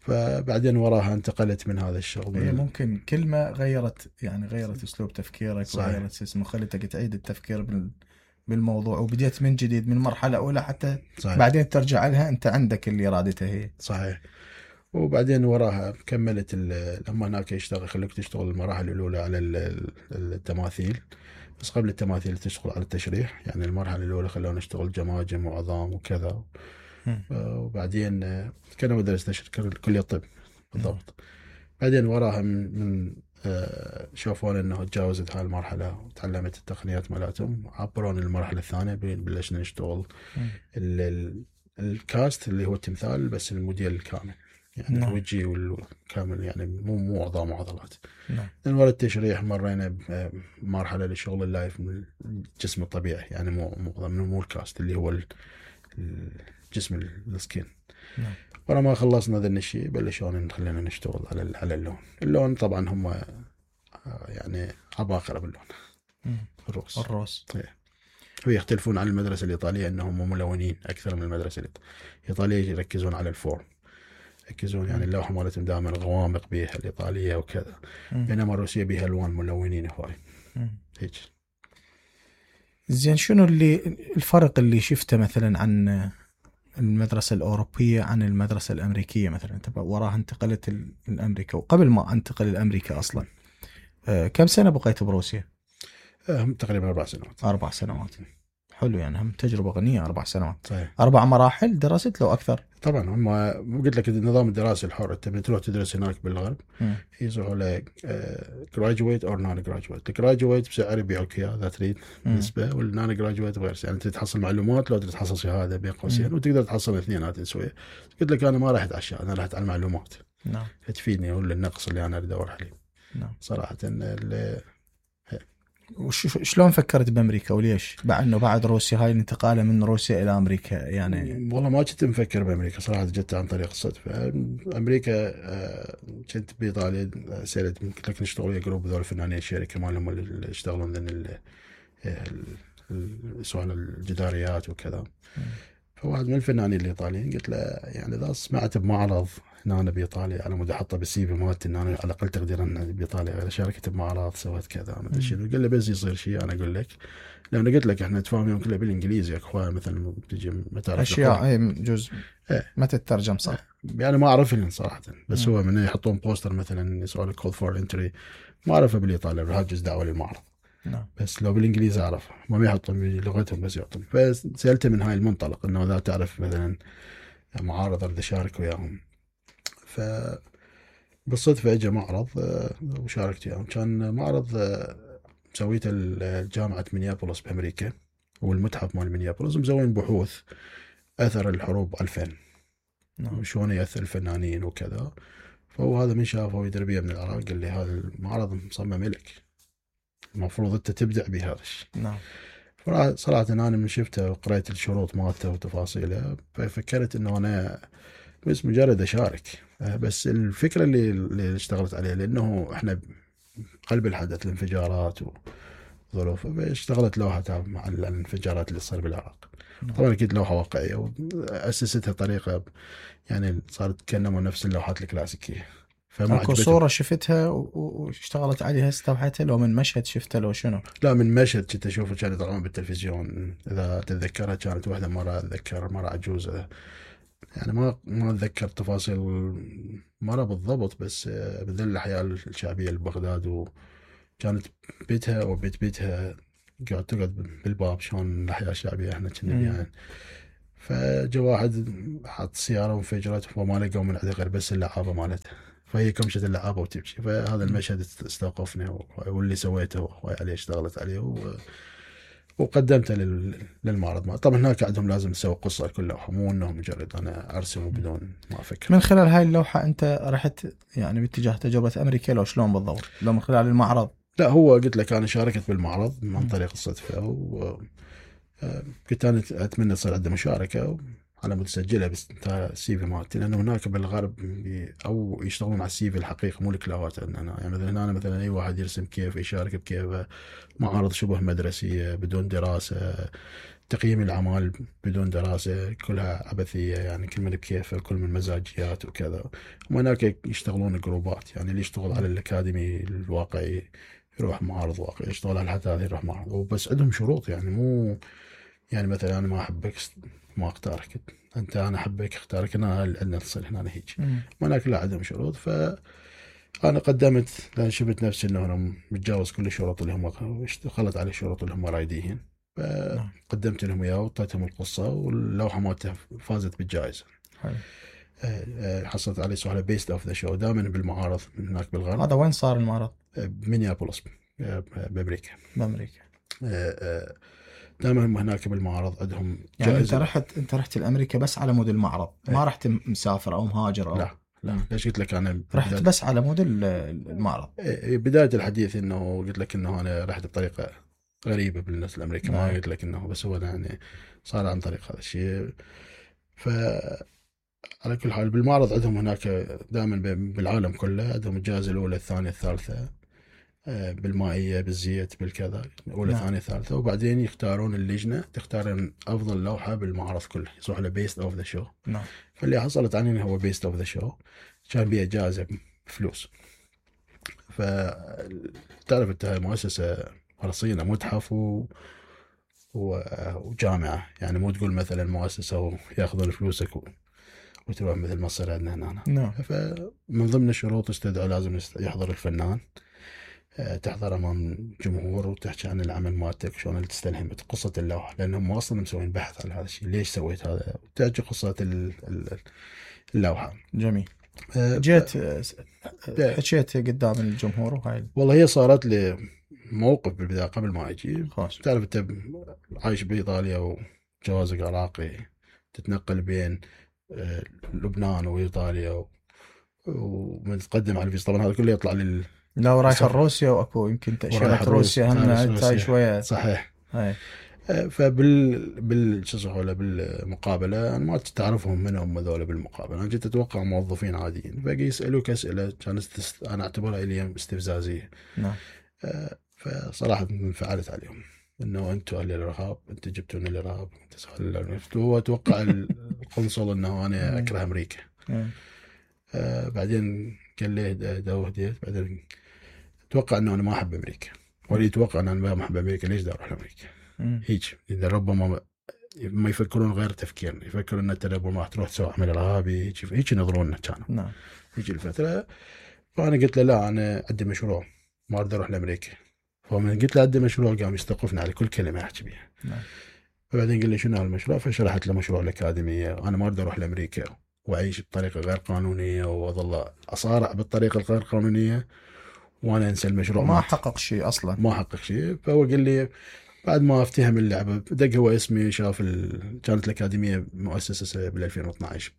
Speaker 2: فبعدين وراها انتقلت من هذا الشغل.
Speaker 1: هي ممكن كلمة غيرت أسلوب تفكيرك، وغيرت اسمه، خلتك تعيد التفكير بالموضوع، وبديت من جديد من مرحلة أولى حتى صحيح. بعدين ترجع لها أنت عندك اللي إرادته هي.
Speaker 2: صحيح. وبعدين وراها كملت لما هناك خليك تشتغل المراحل الأولى على التماثيل، بس قبل التماثيل تشتغل على التشريح. يعني المرحلة الأولى خلونا نشتغل جماجم وعظام وكذا. وبعدين كنا مدرس تشريح كلية الطب بالضبط. بعدين وراها من شافون انه تجاوزت هاي المرحله وتعلمت التقنيات مالتهم، عبرون المرحله الثانيه بلشنا نشتغل الكاست اللي هو التمثال، بس الموديل الكامل يعني الوجهي والكامل، يعني مو عظام وعضلات. من وراء التشريح مرينا بمرحله لشغل اللايف من الجسم الطبيعي، يعني مو الكاست اللي هو جسم السكين. ولما خلصنا ذا الشيء بلشون خلينا نشتغل على اللون طبعا هم يعني عباقرة باللون.
Speaker 1: الروس
Speaker 2: ويختلفون عن المدرسة الإيطالية أنهم ملونين أكثر من المدرسة الإيطالية يركزون على الفورم، يركزون يعني اللوحة مالتهم دائما غوامق بها الإيطالية وكذا، بينما الروسية بها ألوان ملونين هواي هيك.
Speaker 1: زين شنو الفرق اللي شفته مثلا عن المدرسة الأوروبية عن المدرسة الأمريكية مثلا؟ أنت وراها انتقلت لأمريكا، وقبل ما أنتقل لأمريكا أصلا كم سنة بقيت بروسيا؟
Speaker 2: تقريبا 4 سنوات.
Speaker 1: 4 سنوات حلو، يعني هم تجربة غنية. 4 سنوات
Speaker 2: صحيح.
Speaker 1: 4 مراحل درست لو أكثر؟
Speaker 2: طبعا هم قلت لك النظام الدراسي الحر، أنت تروح تدرس هناك بالغرب يصيحوا لك graduate or non graduate. الجراجويت بسعر يبيعوك إياه ذا تريد نسبة، والنون جراجويت غير، يعني أنت تحصل معلومات لو تحصل شهادة بين قوسين، وتقدر تحصل اثنينات سوية. قلت لك أنا ما رحت على الشهادة، أنا رحت على المعلومات.
Speaker 1: نعم.
Speaker 2: تفيدني ولا النقص اللي أنا أدور عليه.
Speaker 1: نعم.
Speaker 2: صراحة
Speaker 1: شلون فكرت بأمريكا وليش؟ بعد روسيا هاي الانتقالة من روسيا إلى أمريكا يعني؟
Speaker 2: والله ما كنت مفكر بأمريكا صراحة، جت عن طريق الصدفة. أمريكا كنت بإيطاليا سيرت قلت لك نشتغل ويا جروب ذول الفنانين، الشركة مالهم اللي يشتغلون ذن سؤال الجداريات وكذا. فواحد من الفنانين الإيطاليين قلت له يعني إذا سمعت بمعرض هنا بإيطاليا على مود أحطه بالسي في مالتي إن أنا على الأقل تقدير أن بإيطاليا شاركت بمعرض سويت كذا ما أدري شنو. قال لي بس يصير شيء أنا أقول لك، لأن قلت لك إحنا نتفاهم كله بالإنجليزي أخويا، مثلا تجي ما تعرف
Speaker 1: أشياء أي جزء ما تترجم صح
Speaker 2: يعني ما أعرفهم صراحة. بس هو من يحطون بوستر مثلا سؤال كول فور انتري ما أعرفه بالإيطالي بهاجز دعوة للمعرض. بس لو بالإنجليزي أعرف ما يحطون بلغتهم بس يعطون. فسألته من هاي المنطلق إنه إذا تعرف مثلا معارض أريد أشارك وياهم. فبالصدفة اجى معرض وشاركت وياهم. كان معرض مسويته جامعة مينيابوليس بأمريكا والمتحف مال مينيابوليس، مسوين بحوث أثر الحروب 2000 وشون يأثر الفنانين وكذا. فهو هذا من شافه يدربيه من العراق قال لي هذا المعرض مصمم لك، المفروض أنت تبدع بهذا الشيء.
Speaker 1: نعم.
Speaker 2: صراحة أنا من شفته وقرأت الشروط مالته وتفاصيله ففكرت إنه أنا بس مجرد أشارك. بس الفكرة اللي اشتغلت عليها لأنه إحنا قلب الحدث الانفجارات وظروف، فاشتغلت لوحة مع الانفجارات اللي صار بالعراق. طبعا أكيد لوحة واقعية وأسستها طريقة يعني صارت كأنما نفس اللوحات الكلاسيكية.
Speaker 1: اكو صورة شفتها واشتغلت عليها استوحيتها لو من مشهد شفتها لو شنو؟
Speaker 2: لا من مشهد كنت اشوفه كان يطلعون بالتلفزيون. اذا تتذكرها كانت واحدة مرة اتذكر مرة عجوزة يعني ما اتذكر تفاصيل مرة بالضبط، بس بذل الاحياء الشعبية لبغداد وكانت بيتها وبيتها قاعد تقعد بالباب شلون الاحياء الشعبية احنا كنا يعني. فجا واحد حط سيارة وانفجرت وما لقوا من عندها غير بس اللعابة مالتها، فهي كمشت اللعابة وتمشي. فهذا المشهد استوقفني واللي سويته وهواي عليه اشتغلت عليه وقدمته للمعرض. طبعا هناك عندهم لازم تسوي قصة لكل لوحة، مو انه مجرد انا ارسم بدون ما افكر.
Speaker 1: من خلال هاي اللوحة انت رحت يعني باتجاه تجربة امريكا لو شلون بالضبط؟ لو من خلال المعرض؟
Speaker 2: لا هو قلت لك انا شاركت بالمعرض من طريق الصدفة كنت انا اتمنى تصير عندي مشاركة على متسجلة بس السي في مالتي، لانه هناك بالغرب او يشتغلون على السي في الحقيقي مو الكلاوات. انا يعني مثلا اي واحد يرسم كيف يشارك بكيف، معارض شبه مدرسية بدون دراسة، تقييم الاعمال بدون دراسة كلها عبثية يعني كل من بكيفه كل من مزاجيات وكذا. وهناك يشتغلون جروبات يعني اللي يشتغل على الاكاديمي الواقعي يروح معارض واقعي، يشتغل على الحداثة يروح معارض. وبس عندهم شروط يعني مو يعني مثلا انا ما احبك ما اختارك انت، انا احبك اختارك انا عندنا تصير هنا هيك. هناك لا عندهم شروط. فانا قدمت لان شفت نفسي انه انا متجاوز كل الشروط اللي هم اشتغلت على الشروط اللي هم رايدين. فقدمت لهم اياه وعطيتهم القصه واللوحه مالتها فازت بالجائزه. حصلت عليه سؤال بيست اوف ذا شو دائما بالمعارض من هناك بالغرب.
Speaker 1: هذا وين صار المعرض؟
Speaker 2: بمينيابوليس بامريكا. دائما هم هناك بالمعرض عندهم
Speaker 1: يعني انت رحت لامريكا بس على مود المعرض ما رحت مسافر او مهاجر او
Speaker 2: لا ليش قلت لك انا
Speaker 1: رحت بس على مود المعرض.
Speaker 2: بداية الحديث انه قلت لك انه انا رحت بطريقة غريبة بالناس الامريكا ما قلت لك انه بس هو يعني صار عن طريق هذا الشيء. ف على كل حال بالمعرض عندهم هناك دائما بالعالم كله عندهم الجائزة الأولى الثانية الثالثة، بالمائية بالزيت بالكذا، أولى ثانية ثالثة، وبعدين يختارون اللجنة تختار أفضل لوحة بالمعرض كله، يصبح له بيست أوف ذا شو. فاللي حصلت عني هو بيست أوف ذا شو، كان بيها جائزة بفلوس. فتعرف أنت مؤسسة رصينة، متحف وجامعة، يعني مو تقول مثلا مؤسسة وياخذون فلوسك وتروح مثل ما صار عندنا هنا. فمن ضمن الشروط استدعوا لازم يحضر الفنان، تحضر امام جمهور وتحكي عن العمل مالتك، شلون اللي تستلهمت قصه اللوحه، لانهم اصلا مسوين بحث على هذا الشيء، ليش سويت هذا، وتحكي قصه اللوحه.
Speaker 1: جميل. جيت حكيت قدام الجمهور وهاي؟
Speaker 2: والله هي صارت لي موقف بالبدايه قبل ما اجي. تعرف انت عايش بايطاليا وجوازك عراقي، تتنقل بين لبنان وايطاليا ومتقدم على الفيزا، طبعا هذا كله يطلع
Speaker 1: لا ورايح روسيا، واكو يمكن تأشيرة روسيا هم تاي شويه.
Speaker 2: صحيح.
Speaker 1: هاي.
Speaker 2: شو اسمه بالمقابله انا ما تعرفهم من هم هذول بالمقابله، انا جيت اتوقع موظفين عاديين، باقي يسالوك اسئله كانت انا اعتبرها لي استفزازيه.
Speaker 1: نعم.
Speaker 2: فصراحه انفعلت عليهم انه انتم اهل الارهاب، انتم جبتوا لنا الارهاب، هو اتوقع القنصل انه انا اكره امريكا. بعدين قال لي هديت، بعدين اتوقع انه انا ما احب امريكا، واللي يتوقع ان انا ما احب امريكا ليش دا اروح لامريكا؟ هيك اذا ربما ما يفكرون غير تفكيرنا، يفكرون ان انت ربما راح تروح تسوي عمل ارهابي، هيك ينظروننا كانوا.
Speaker 1: نعم.
Speaker 2: هيك الفتره. فانا قلت له لا انا عندي مشروع ما اريد اروح لامريكا. فمن قلت له عندي مشروع قام يستوقفني على كل كلمه احكي بها.
Speaker 1: نعم.
Speaker 2: فبعدين قال لي شنو هالمشروع؟ فشرحت له مشروع الاكاديميه، انا ما اريد اروح لامريكا واعيش بطريقه غير قانونيه واظل اصارع بالطريقه الغير قانونيه وانا انسى المشروع،
Speaker 1: ما حقق شيء اصلا،
Speaker 2: ما حقق شيء. فهو قال لي بعد ما افتهم اللعبه دق هو اسمي، شاف كانت الاكاديميه مؤسسه بال 2012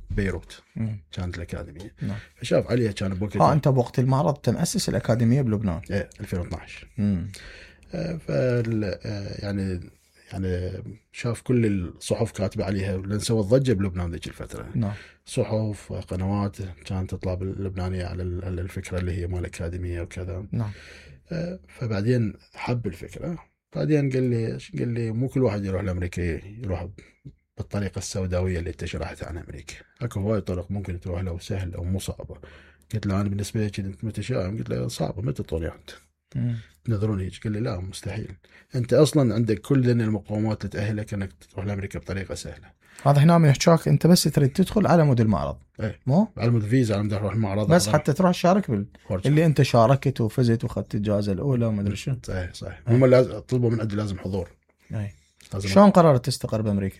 Speaker 2: ببيروت، كانت الاكاديميه. فشاف عليها كان بوقتها.
Speaker 1: انت بوقت المعرض تمؤسس الاكاديميه بلبنان؟
Speaker 2: ايه 2012. يعني شاف كل الصحف كاتبه عليها، لان سوت ضجه بلبنان ذيك الفتره.
Speaker 1: نعم.
Speaker 2: صحف قنوات كانت تطلع باللبنانيه على الفكره اللي هي مال الاكاديميه وكذا.
Speaker 1: نعم.
Speaker 2: فبعدين حب الفكره، بعدين قال لي مو كل واحد يروح لامريكا يروح بالطريقه السوداويه اللي انت شرحتها عن امريكا، اكو هواي طرق ممكن تروح له سهله او مو صعبه. قلت له انا بالنسبه لي انت متشائم، قلت له صعبه متى تطولي انت تنظرون هيك؟ قال لي لا مستحيل، انت اصلا عندك كل المقومات اللي تاهلك انك تروح لامريكا بطريقه سهله.
Speaker 1: هذا هنا من يحكاك انت بس تريد تدخل على مود المعرض.
Speaker 2: ايه
Speaker 1: مو
Speaker 2: على مود الفيزا، على مود اروح المعرض
Speaker 1: بس حتى تروح تشارك اللي انت شاركت وفزت واخذت الجائزه الاولى وما ادري شو.
Speaker 2: صحيح. هم لازم طلبوا من عندي لازم حضور.
Speaker 1: شلون قررت تستقر بامريكا؟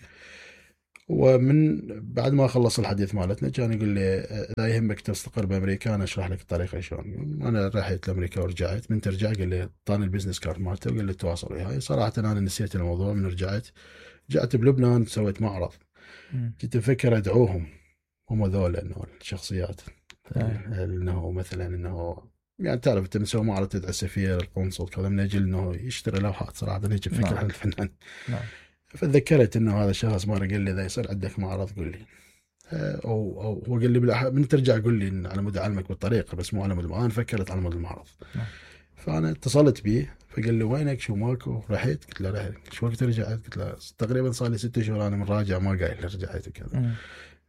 Speaker 2: ومن بعد ما خلص الحديث مالتنا كان يقول لي اذا يهمك تستقر بامريكا انا اشرح لك الطريقه شلون. انا رحت لامريكا ورجعت، من ترجع قال لي اعطاني البزنس كارد مالته وقال لي تواصل وياي. صراحه انا نسيت الموضوع. من رجعت بلبنان سويت معرض، كنت مفكر ادعوهم هم ذول انه الشخصيات انه مثلا انه يعني تعرف انت مسوي معرض تدعي السفير القنصل كذا من اجل انه يشتري لوحات. صراحه هيك فكره عن الفنان. فتذكرت انه هذا الشخص مره قال لي اذا يصير عندك معرض قول لي، او هو قال لي من ترجع قول لي على مود اعلمك بالطريقه بس مو على مود. انا فكرت على مود المعرض. فانا اتصلت به فقال لي وينك شو ماكو؟ رحت قلت له رحت. شو وقت رجعت؟ قلت له تقريبا صار لي 6 شهور انا من راجع ما قايل رجعت وكذا.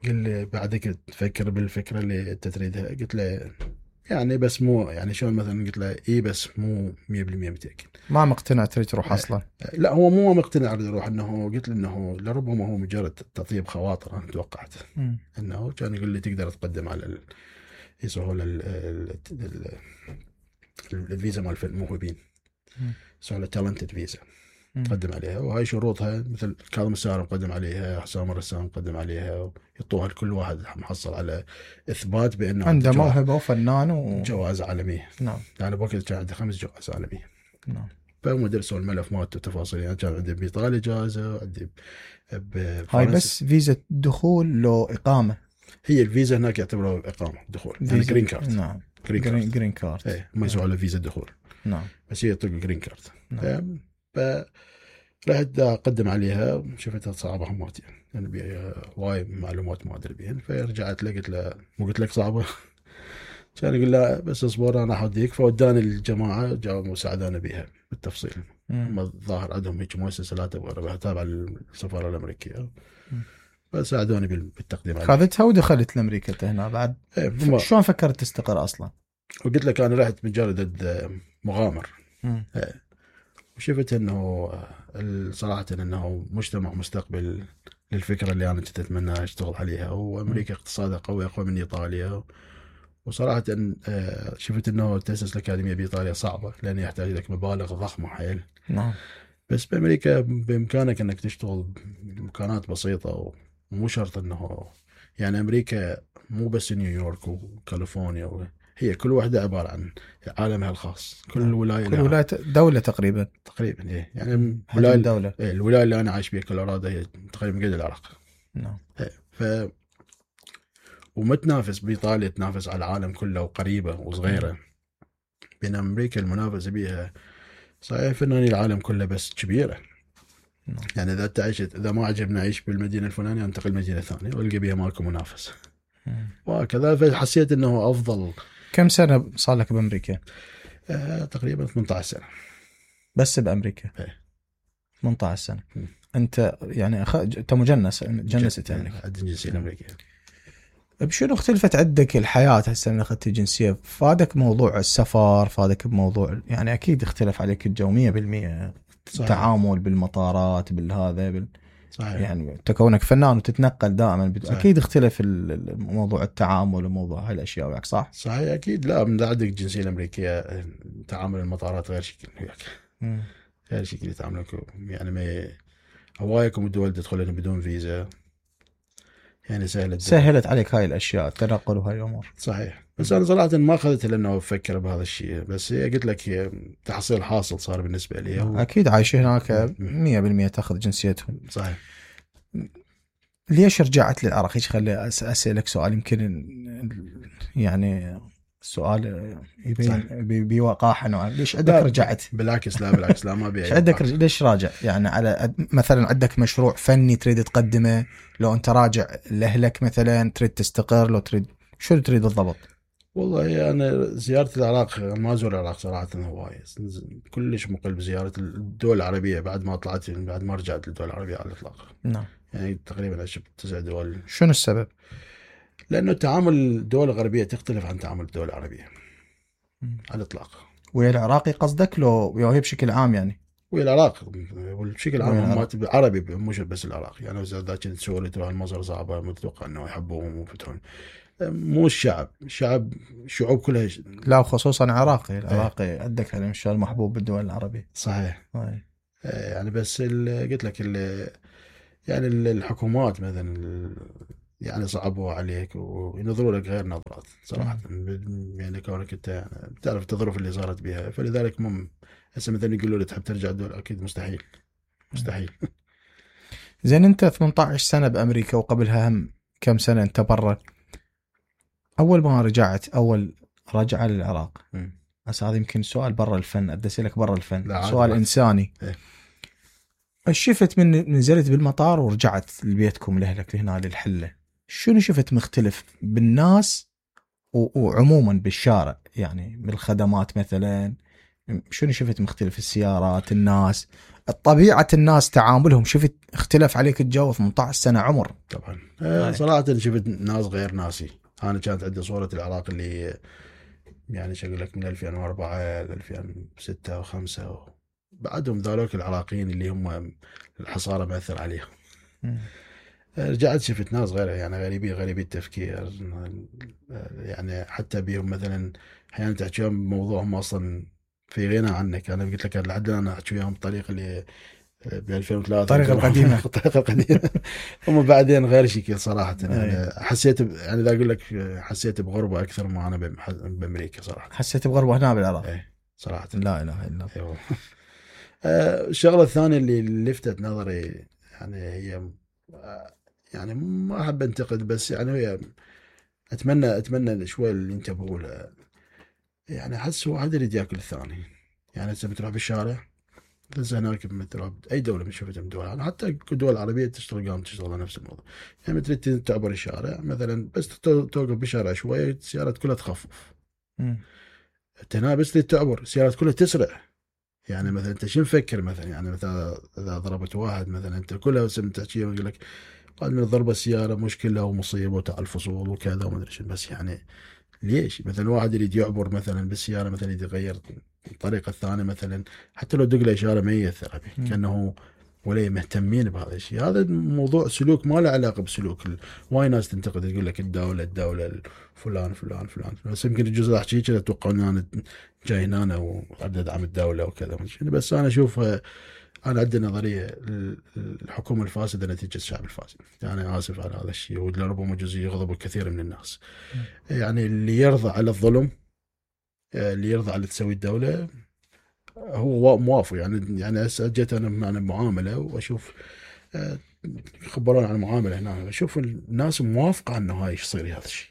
Speaker 2: قال لي بعدك تفكر بالفكره اللي انت تريدها؟ قلت له يعني بس مو يعني شلون مثلا. قلت له اي بس مو 100% متاكد.
Speaker 1: ما مقتنع تريد تروح اصلا؟
Speaker 2: لا هو مو مقتنع اريد اروح. انه قلت له انه لربما هو مجرد تطيب خواطر. انا توقعت انه كان يقول لي تقدر تقدم على يسوون الفيزا مال الموهوبين، يسوون تالنتد فيزا تقدم عليها، وهاي شروطها مثل كاظم الساهر مقدم عليها، حسام الرسام مقدم عليها، يعطوها لكل واحد محصل على اثبات بانه
Speaker 1: عنده موهبه وفنان
Speaker 2: جوائز عالميه.
Speaker 1: نعم.
Speaker 2: يعني بوقت كان عندي 5 جوائز عالميه.
Speaker 1: نعم.
Speaker 2: فهم درسوا الملف مالته وتفاصيل. يعني كان عندي بايطاليا جائزه وعندي
Speaker 1: هاي بس فيزا دخول لو اقامه.
Speaker 2: هي الفيزا هناك يعتبروها اقامه دخول يعني جرين كارد.
Speaker 1: نعم. جرين كارد.
Speaker 2: ايه ما يسووا على فيزا دخول.
Speaker 1: نعم.
Speaker 2: بس هي تطلق جرين كارد.
Speaker 1: نعم.
Speaker 2: رحت اقدم عليها، شفتها صعبه همات يعني بيها هواي معلومات ما ادري بيهن. فرجعت له قلت له مو قلت لك صعبه؟ كان يقول لا بس اصبر انا احديك. فوداني الجماعه جاوا ساعدونا بها بالتفصيل. هم الظاهر عندهم هيك مؤسسه لا تبغى تابعه للسفاره الامريكيه، فساعدوني بالتقديم عليها.
Speaker 1: خذتها ودخلت لامريكا انت هنا بعد. شلون فكرت تستقر اصلا؟
Speaker 2: وقلت لك انا رحت مجرد مغامر. وشفت انه صراحه انه مجتمع مستقبل للفكره اللي انا كنت اتمنى اشتغل عليها. وامريكا اقتصادها قوي، اقوى من ايطاليا. وصراحه شفت انه تاسيس الاكاديميه بايطاليا صعبه، لان يحتاج لك مبالغ ضخمه حيل.
Speaker 1: نعم.
Speaker 2: بس بامريكا بامكانك انك تشتغل بامكانات بسيطه، ومو شرط انه يعني امريكا مو بس نيويورك وكاليفورنيا، هي كل واحدة عبارة عن عالمها الخاص. كل ولاية
Speaker 1: كل ولاية دولة تقريبا
Speaker 2: إيه. يعني
Speaker 1: الدولة
Speaker 2: الولاية اللي أنا عايش بها كولورادو هي تقريبا قد العراق.
Speaker 1: نعم.
Speaker 2: وما تنافس بإيطاليا، تنافس على العالم كله وقريبة وصغيرة. بين أمريكا المنافسة بها صحيح فناني العالم كله بس كبيرة. يعني إذا ما عجبنا أعيش بالمدينة الفلانية أنتقل مدينة ثانية والقى بها ماكو منافس. وكذا فحسيت أنه أفضل.
Speaker 1: كم سنة صار لك بأمريكا؟
Speaker 2: تقريبا 18 سنة
Speaker 1: بس بأمريكا. 18 سنة. أنت يعني أنت جنست يعني
Speaker 2: عندي الجنسية الأمريكية.
Speaker 1: بشنو اختلفت عندك الحياة هسه من أخذت الجنسية؟ فادك موضوع السفر، فادك بموضوع يعني أكيد اختلف عليك الجو 100%. التعامل بالمطارات بالهذا
Speaker 2: صحيح.
Speaker 1: يعني تكونك فنان وتتنقل دائما اكيد اختلف الموضوع التعامل وموضوع هالاشياء وياك صح؟
Speaker 2: صحيح اكيد. لا من عندك الجنسيه الامريكيه تعامل المطارات غير شكل وياك. غير شكل يتعاملون يعني ما هوايكم الدول تدخلون بدون فيزا، يعني
Speaker 1: سهلت عليك هاي الاشياء التنقل وهاي الامور.
Speaker 2: صحيح. بس انا صراحه ما اخذت لانه افكر بهذا الشيء، بس هي قلت لك هي تحصيل حاصل صار بالنسبه لي.
Speaker 1: اكيد عايش هناك 100% تاخذ جنسيتهم.
Speaker 2: صحيح.
Speaker 1: ليش رجعت للعراق؟ ايش خلي اسالك سؤال يمكن يعني السؤال يبين بوقاحه نوعا. ليش عندك رجعت؟
Speaker 2: بالعكس لا ما ابي.
Speaker 1: ايش عندك ليش راجع؟ يعني على مثلا عندك مشروع فني تريد تقدمه، لو انت راجع لاهلك مثلا تريد تستقر، لو تريد شو تريد بالضبط؟
Speaker 2: والله انا زياره العراق ما ازور العراق صراحه هوايه، كلش مقل بزياره الدول العربيه بعد ما رجعت للدول العربيه على الاطلاق.
Speaker 1: نعم.
Speaker 2: يعني تقريبا عشت 9 دول.
Speaker 1: شنو السبب؟
Speaker 2: لانه تعامل الدول الغربيه تختلف عن تعامل الدول العربيه على الاطلاق.
Speaker 1: ويا العراقي قصدك لو هي بشكل عام يعني؟
Speaker 2: ويا العراق بشكل عام هم عربي مش بس العراق. يعني اذا كنت تسوي تروح المصر صعبه متوقع انه يحبوهم وفتون. مو الشعب شعوب كلها
Speaker 1: لا وخصوصا العراقي عندك على مشان محبوب بالدول العربية.
Speaker 2: صحيح. يعني بس قلت لك يعني الحكومات مثلا يعني صعبوا عليك وينظروا لك غير نظرات صراحة. يعني كونك انت يعني بتعرف الظروف اللي صارت بها، فلذلك هسه مثلا يقولوا لي تحب ترجع الدول، اكيد مستحيل.
Speaker 1: زين انت 18 سنة بامريكا وقبلها هم كم سنة انت برا. اول ما رجعت اول رجعة للعراق، بس هذا يمكن سؤال برا الفن، ادسي لك برا الفن، سؤال انساني. شفت من نزلت بالمطار ورجعت لبيتكم لاهلك هنا للحلة، شنو شفت مختلف بالناس وعموما بالشارع؟ يعني بالخدمات مثلا شنو شفت مختلف؟ السيارات، الناس، طبيعة الناس، تعاملهم، شفت اختلف عليك الجو 18 سنة عمر؟
Speaker 2: طبعا. صراحة شفت ناس غير ناسي. أنا كانت عندي صورة العراق اللي يعني شغل لك من 2004 ل 2006 و5 بعدهم ذلك العراقيين اللي هم الحصارة مأثر عليهم. رجعت شفت ناس غير يعني غريبي التفكير. يعني حتى بيهم مثلا أحيانا تحكي وياهم بموضوعهم أصلا في غنى عنك. أنا قلت لك لحد الآن أحكي وياهم بالطريقة اللي ب 2003
Speaker 1: الطريقة
Speaker 2: القديمة. هم بعدين غير شكل صراحة. يعني حسيت يعني إذا أقول لك حسيت بغربة أكثر ما أنا بأمريكا صراحة.
Speaker 1: حسيت بغربة هنا بالعراق؟
Speaker 2: صراحة
Speaker 1: لا إله إلا
Speaker 2: الله. الشغلة الثانية اللي لفتت نظري يعني هي يعني ما أحب أنتقد، بس يعني هي أتمنى شوي اللي أنت بقوله. يعني أحس واحد يريد يأكل الثاني. يعني أنت بتروح بالشارع بس هناك مثل اي دوله من شفتها من الدول، يعني حتى الدول العربيه تشتغل على نفس الموضوع. يعني تريد تعبر الشارع مثلا، بس توقف بالشارع شويه السيارات كلها تخفف. هنا بس تريد تعبر السيارات كلها تسرع. يعني مثلا انت شو مفكر مثلا، يعني مثلا اذا ضربت واحد مثلا انت كلها سمت تحكي يقول لك قال من ضرب السياره مشكله ومصيبه وتاع الفصول وكذا وما ادري شو. بس يعني ليش مثلا واحد يريد يعبر مثلا بالسياره مثلا يريد يغير الطريقه الثانيه مثلا، حتى لو دق له اشاره ما ياثر به كانه ولا مهتمين بهذا الشيء. هذا موضوع سلوك ما له علاقه بسلوك واي ناس تنتقد تقول لك الدوله فلان فلان فلان. بس يمكن الجزء احكي كذا اتوقع ان انا جاي هنا واريد ادعم الدوله وكذا. بس انا اشوف انا عندي نظريه الحكومه الفاسده نتيجه الشعب الفاسد. يعني اسف على هذا الشيء، ولربما جزء يغضب كثير من الناس. يعني اللي يرضى على الظلم، اللي يرضى على تسوي الدوله هو موافق. يعني هسه جيت انا معامله واشوف يخبرون عن المعامله هنا، اشوف الناس موافقه انه هاي يصير هذا الشيء.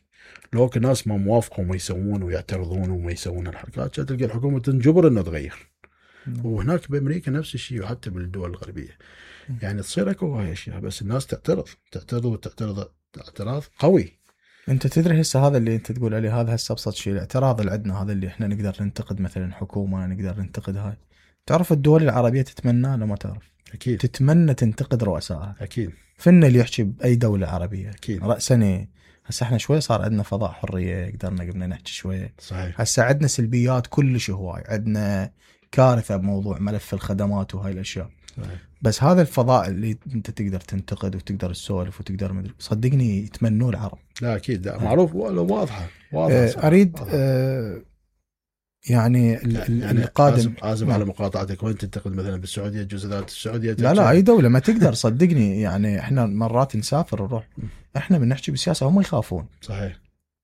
Speaker 2: لو الناس ما موافقه وما يسوون ويعترضون وما يسوون الحركات، تلقى الحكومه تنجبر انه تغير. وهناك بامريكا نفس الشيء، وحتى بالدول الغربيه يعني تصير اكو هاي اشياء، بس الناس تعترض اعتراض قوي.
Speaker 1: انت تدري هسه هذا اللي انت تقول عليه، هذا هسه ابسط شيء الاعتراض اللي عندنا، هذا اللي احنا نقدر ننتقد مثلا حكومه، نقدر ننتقد هاي. تعرف الدول العربيه تتمنى لو ما تعرف؟
Speaker 2: اكيد
Speaker 1: تتمنى تنتقد رؤسائها.
Speaker 2: اكيد
Speaker 1: فن اللي يحكي باي دوله عربيه
Speaker 2: اكيد
Speaker 1: راسا. هسه احنا شوي صار عندنا فضاء حريه، قدرنا نحكي شويه.
Speaker 2: صحيح.
Speaker 1: هسه عندنا سلبيات كلش هواي، عندنا كارثه بموضوع ملف الخدمات وهاي الاشياء.
Speaker 2: صحيح.
Speaker 1: بس هذا الفضاء اللي انت تقدر تنتقد وتقدر تسولف وتقدر مدري، صدقني يتمنوه العرب.
Speaker 2: لا اكيد، لا معروف، واضحه
Speaker 1: اريد يعني القادم
Speaker 2: عازم على مقاطعتك. وين تنتقد مثلا بالسعوديه، جزء السعوديه؟
Speaker 1: لا اي دوله ما تقدر صدقني. يعني احنا مرات نسافر نروح، احنا بنحكي بالسياسه هم يخافون.
Speaker 2: صحيح.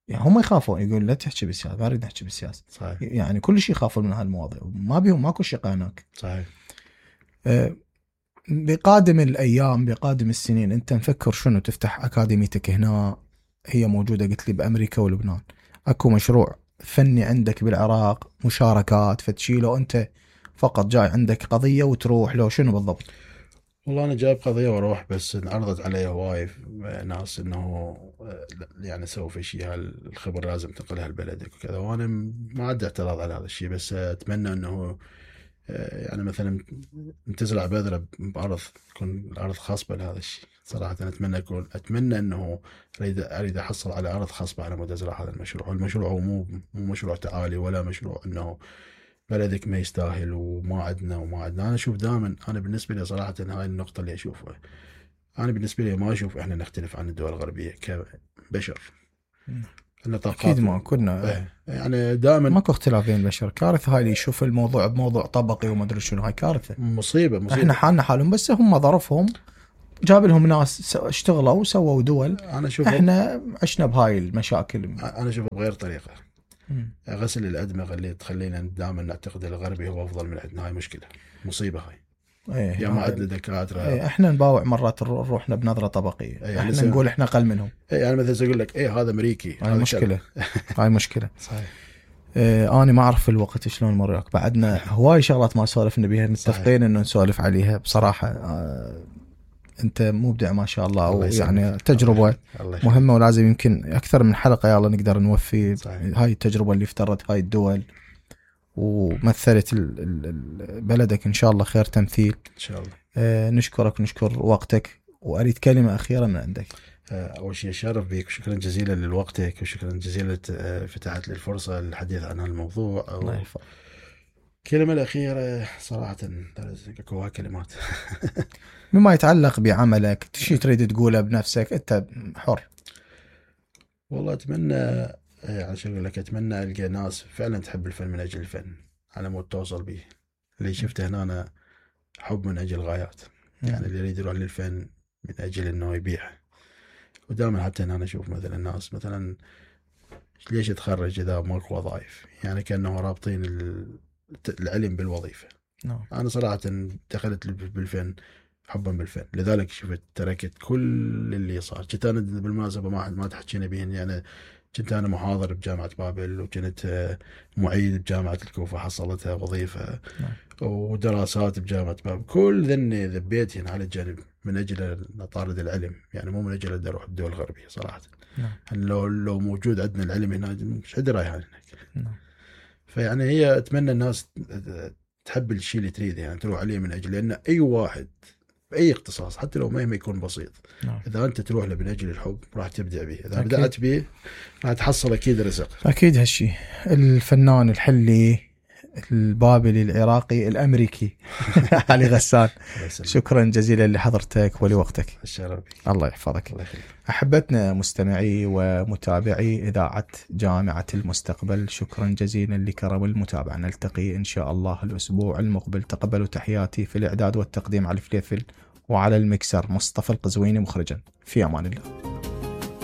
Speaker 1: يعني هم يخافون، يقول لا تحكي بالسياسه، ما اريد نحكي بالسياسه.
Speaker 2: صحيح.
Speaker 1: يعني كل شيء يخافون من هالمواضيع، ما بيهم ماكو شقه هناك.
Speaker 2: صحيح.
Speaker 1: بقادم الايام بقادم السنين انت مفكر شنو تفتح اكاديميتك هنا؟ هي موجوده قلت لي بامريكا ولبنان. اكو مشروع فني عندك بالعراق، مشاركات فتشي، لو انت فقط جاي عندك قضيه وتروح لو شنو بالضبط؟
Speaker 2: والله انا جايب قضيه واروح، بس انعرضت علي هواي ناس انه يعني سووا في شيء، هالخبر لازم تنقلها لبلدك وكذا. وانا ما عندي اعتراض على هذا الشيء، بس اتمنى انه يعني مثلا تزرع بذره بارض تكون الارض خصبه لهذا الشيء. صراحه اتمنى انه اريد احصل على ارض خصبه على مود ازرع هذا المشروع. والمشروع هو مو مشروع تعالي، ولا مشروع انه بلدك ما يستاهل وما عندنا. انا اشوف دائما، انا بالنسبه لي صراحه هاي النقطه اللي اشوفها، انا بالنسبه لي ما اشوف احنا نختلف عن الدول الغربيه كبشر.
Speaker 1: اكيد ما كنا
Speaker 2: يعني دائما
Speaker 1: ماكو اختلاف بين البشر. كارثه هاي اللي يشوف الموضوع بموضوع طبقي وما ادري شنو، هاي كارثه،
Speaker 2: مصيبه.
Speaker 1: احنا حالنا حالهم، بس هم ظرفهم جاب لهم ناس اشتغلوا وسووا دول.
Speaker 2: انا اشوف
Speaker 1: احنا عشنا بهاي المشاكل.
Speaker 2: انا اشوف بغير طريقه. غسل الادمغه اللي تخلينا دائما نعتقد الغربي هو افضل من عندنا، هاي مشكله، مصيبه هاي. يا ما عندنا دكاتره.
Speaker 1: احنا نباوع مرات روحنا بنظره طبقيه.
Speaker 2: يعني
Speaker 1: احنا نقول احنا اقل منهم.
Speaker 2: يعني مثلا اقول لك هذا امريكي،
Speaker 1: هاي مشكله. هاي مشكله.
Speaker 2: صحيح.
Speaker 1: انا ما اعرف الوقت شلون مر وياك، بعدنا هواي شغلات ما سولفنا بيها، متفقين انه نسولف عليها بصراحه. انت مبدع ما شاء الله، ويعني تجربه مهمه، ولازم يمكن اكثر من حلقه يلا نقدر نوفي. صحيح. هاي التجربه اللي افترت هاي الدول ومثلت بلدك ان شاء الله خير تمثيل
Speaker 2: ان شاء الله.
Speaker 1: نشكرك ونشكر وقتك، واريد كلمه اخيره من عندك.
Speaker 2: اول شيء شرف بك، وشكرا جزيلا لوقتك، وشكرا جزيلا فتحت لي الفرصه للحديث عن هالموضوع.
Speaker 1: الله يحفظك.
Speaker 2: الكلمه الاخيره صراحه اكو كلمات
Speaker 1: مما يتعلق بعملك، شيء تريد تقوله بنفسك، انت حر.
Speaker 2: والله اتمنى، يعني شو اقول لك، اتمنى القى ناس فعلا تحب الفن من اجل الفن على مود توصل به. اللي شفته هنا أنا حب من اجل غايات. يعني اللي يريد يروح للفن من اجل انه يبيع. ودائما حتى هنا انا اشوف مثلا الناس مثلا ليش يتخرج اذا ماكو وظائف؟ يعني كانه رابطين العلم بالوظيفه. انا صراحه دخلت بالفن حبا بالفن، لذلك شفت تركت كل اللي صار. كنت انا بالمناسبه ما تحكينا بين، يعني كنت أنا محاضر بجامعة بابل، وكنت معيد بجامعة الكوفة حصلتها وظيفة، ودراسات بجامعة بابل. كل ذني ذبيتهن على جنب من أجل أطارد العلم، يعني مو من أجل أدي أروح الدول الغربية صراحة. لو موجود عندنا العلم هنا مش حد رايح هناك. فيعني هي أتمنى الناس تحب الشيء اللي تريده، يعني تروح عليه من أجل، لأن أي واحد بأي اختصاص حتى لو مهما يكون بسيط، إذا أنت تروح له من أجل الحب راح تبدع به. إذا بدأت به راح تحصل أكيد رزق.
Speaker 1: أكيد هالشيء. الفنان الحلي البابلي العراقي الأمريكي علي غسان، شكرا جزيلا لحضرتك ولوقتك.
Speaker 2: الشرف.
Speaker 1: الله يحفظك. أحبتنا مستمعي ومتابعي إذاعة جامعة المستقبل، شكرا جزيلا لكرم المتابعة. نلتقي إن شاء الله الأسبوع المقبل. تقبلوا تحياتي. في الإعداد والتقديم على الفليفل، وعلى المكسر مصطفى القزويني مخرجا. في أمان الله.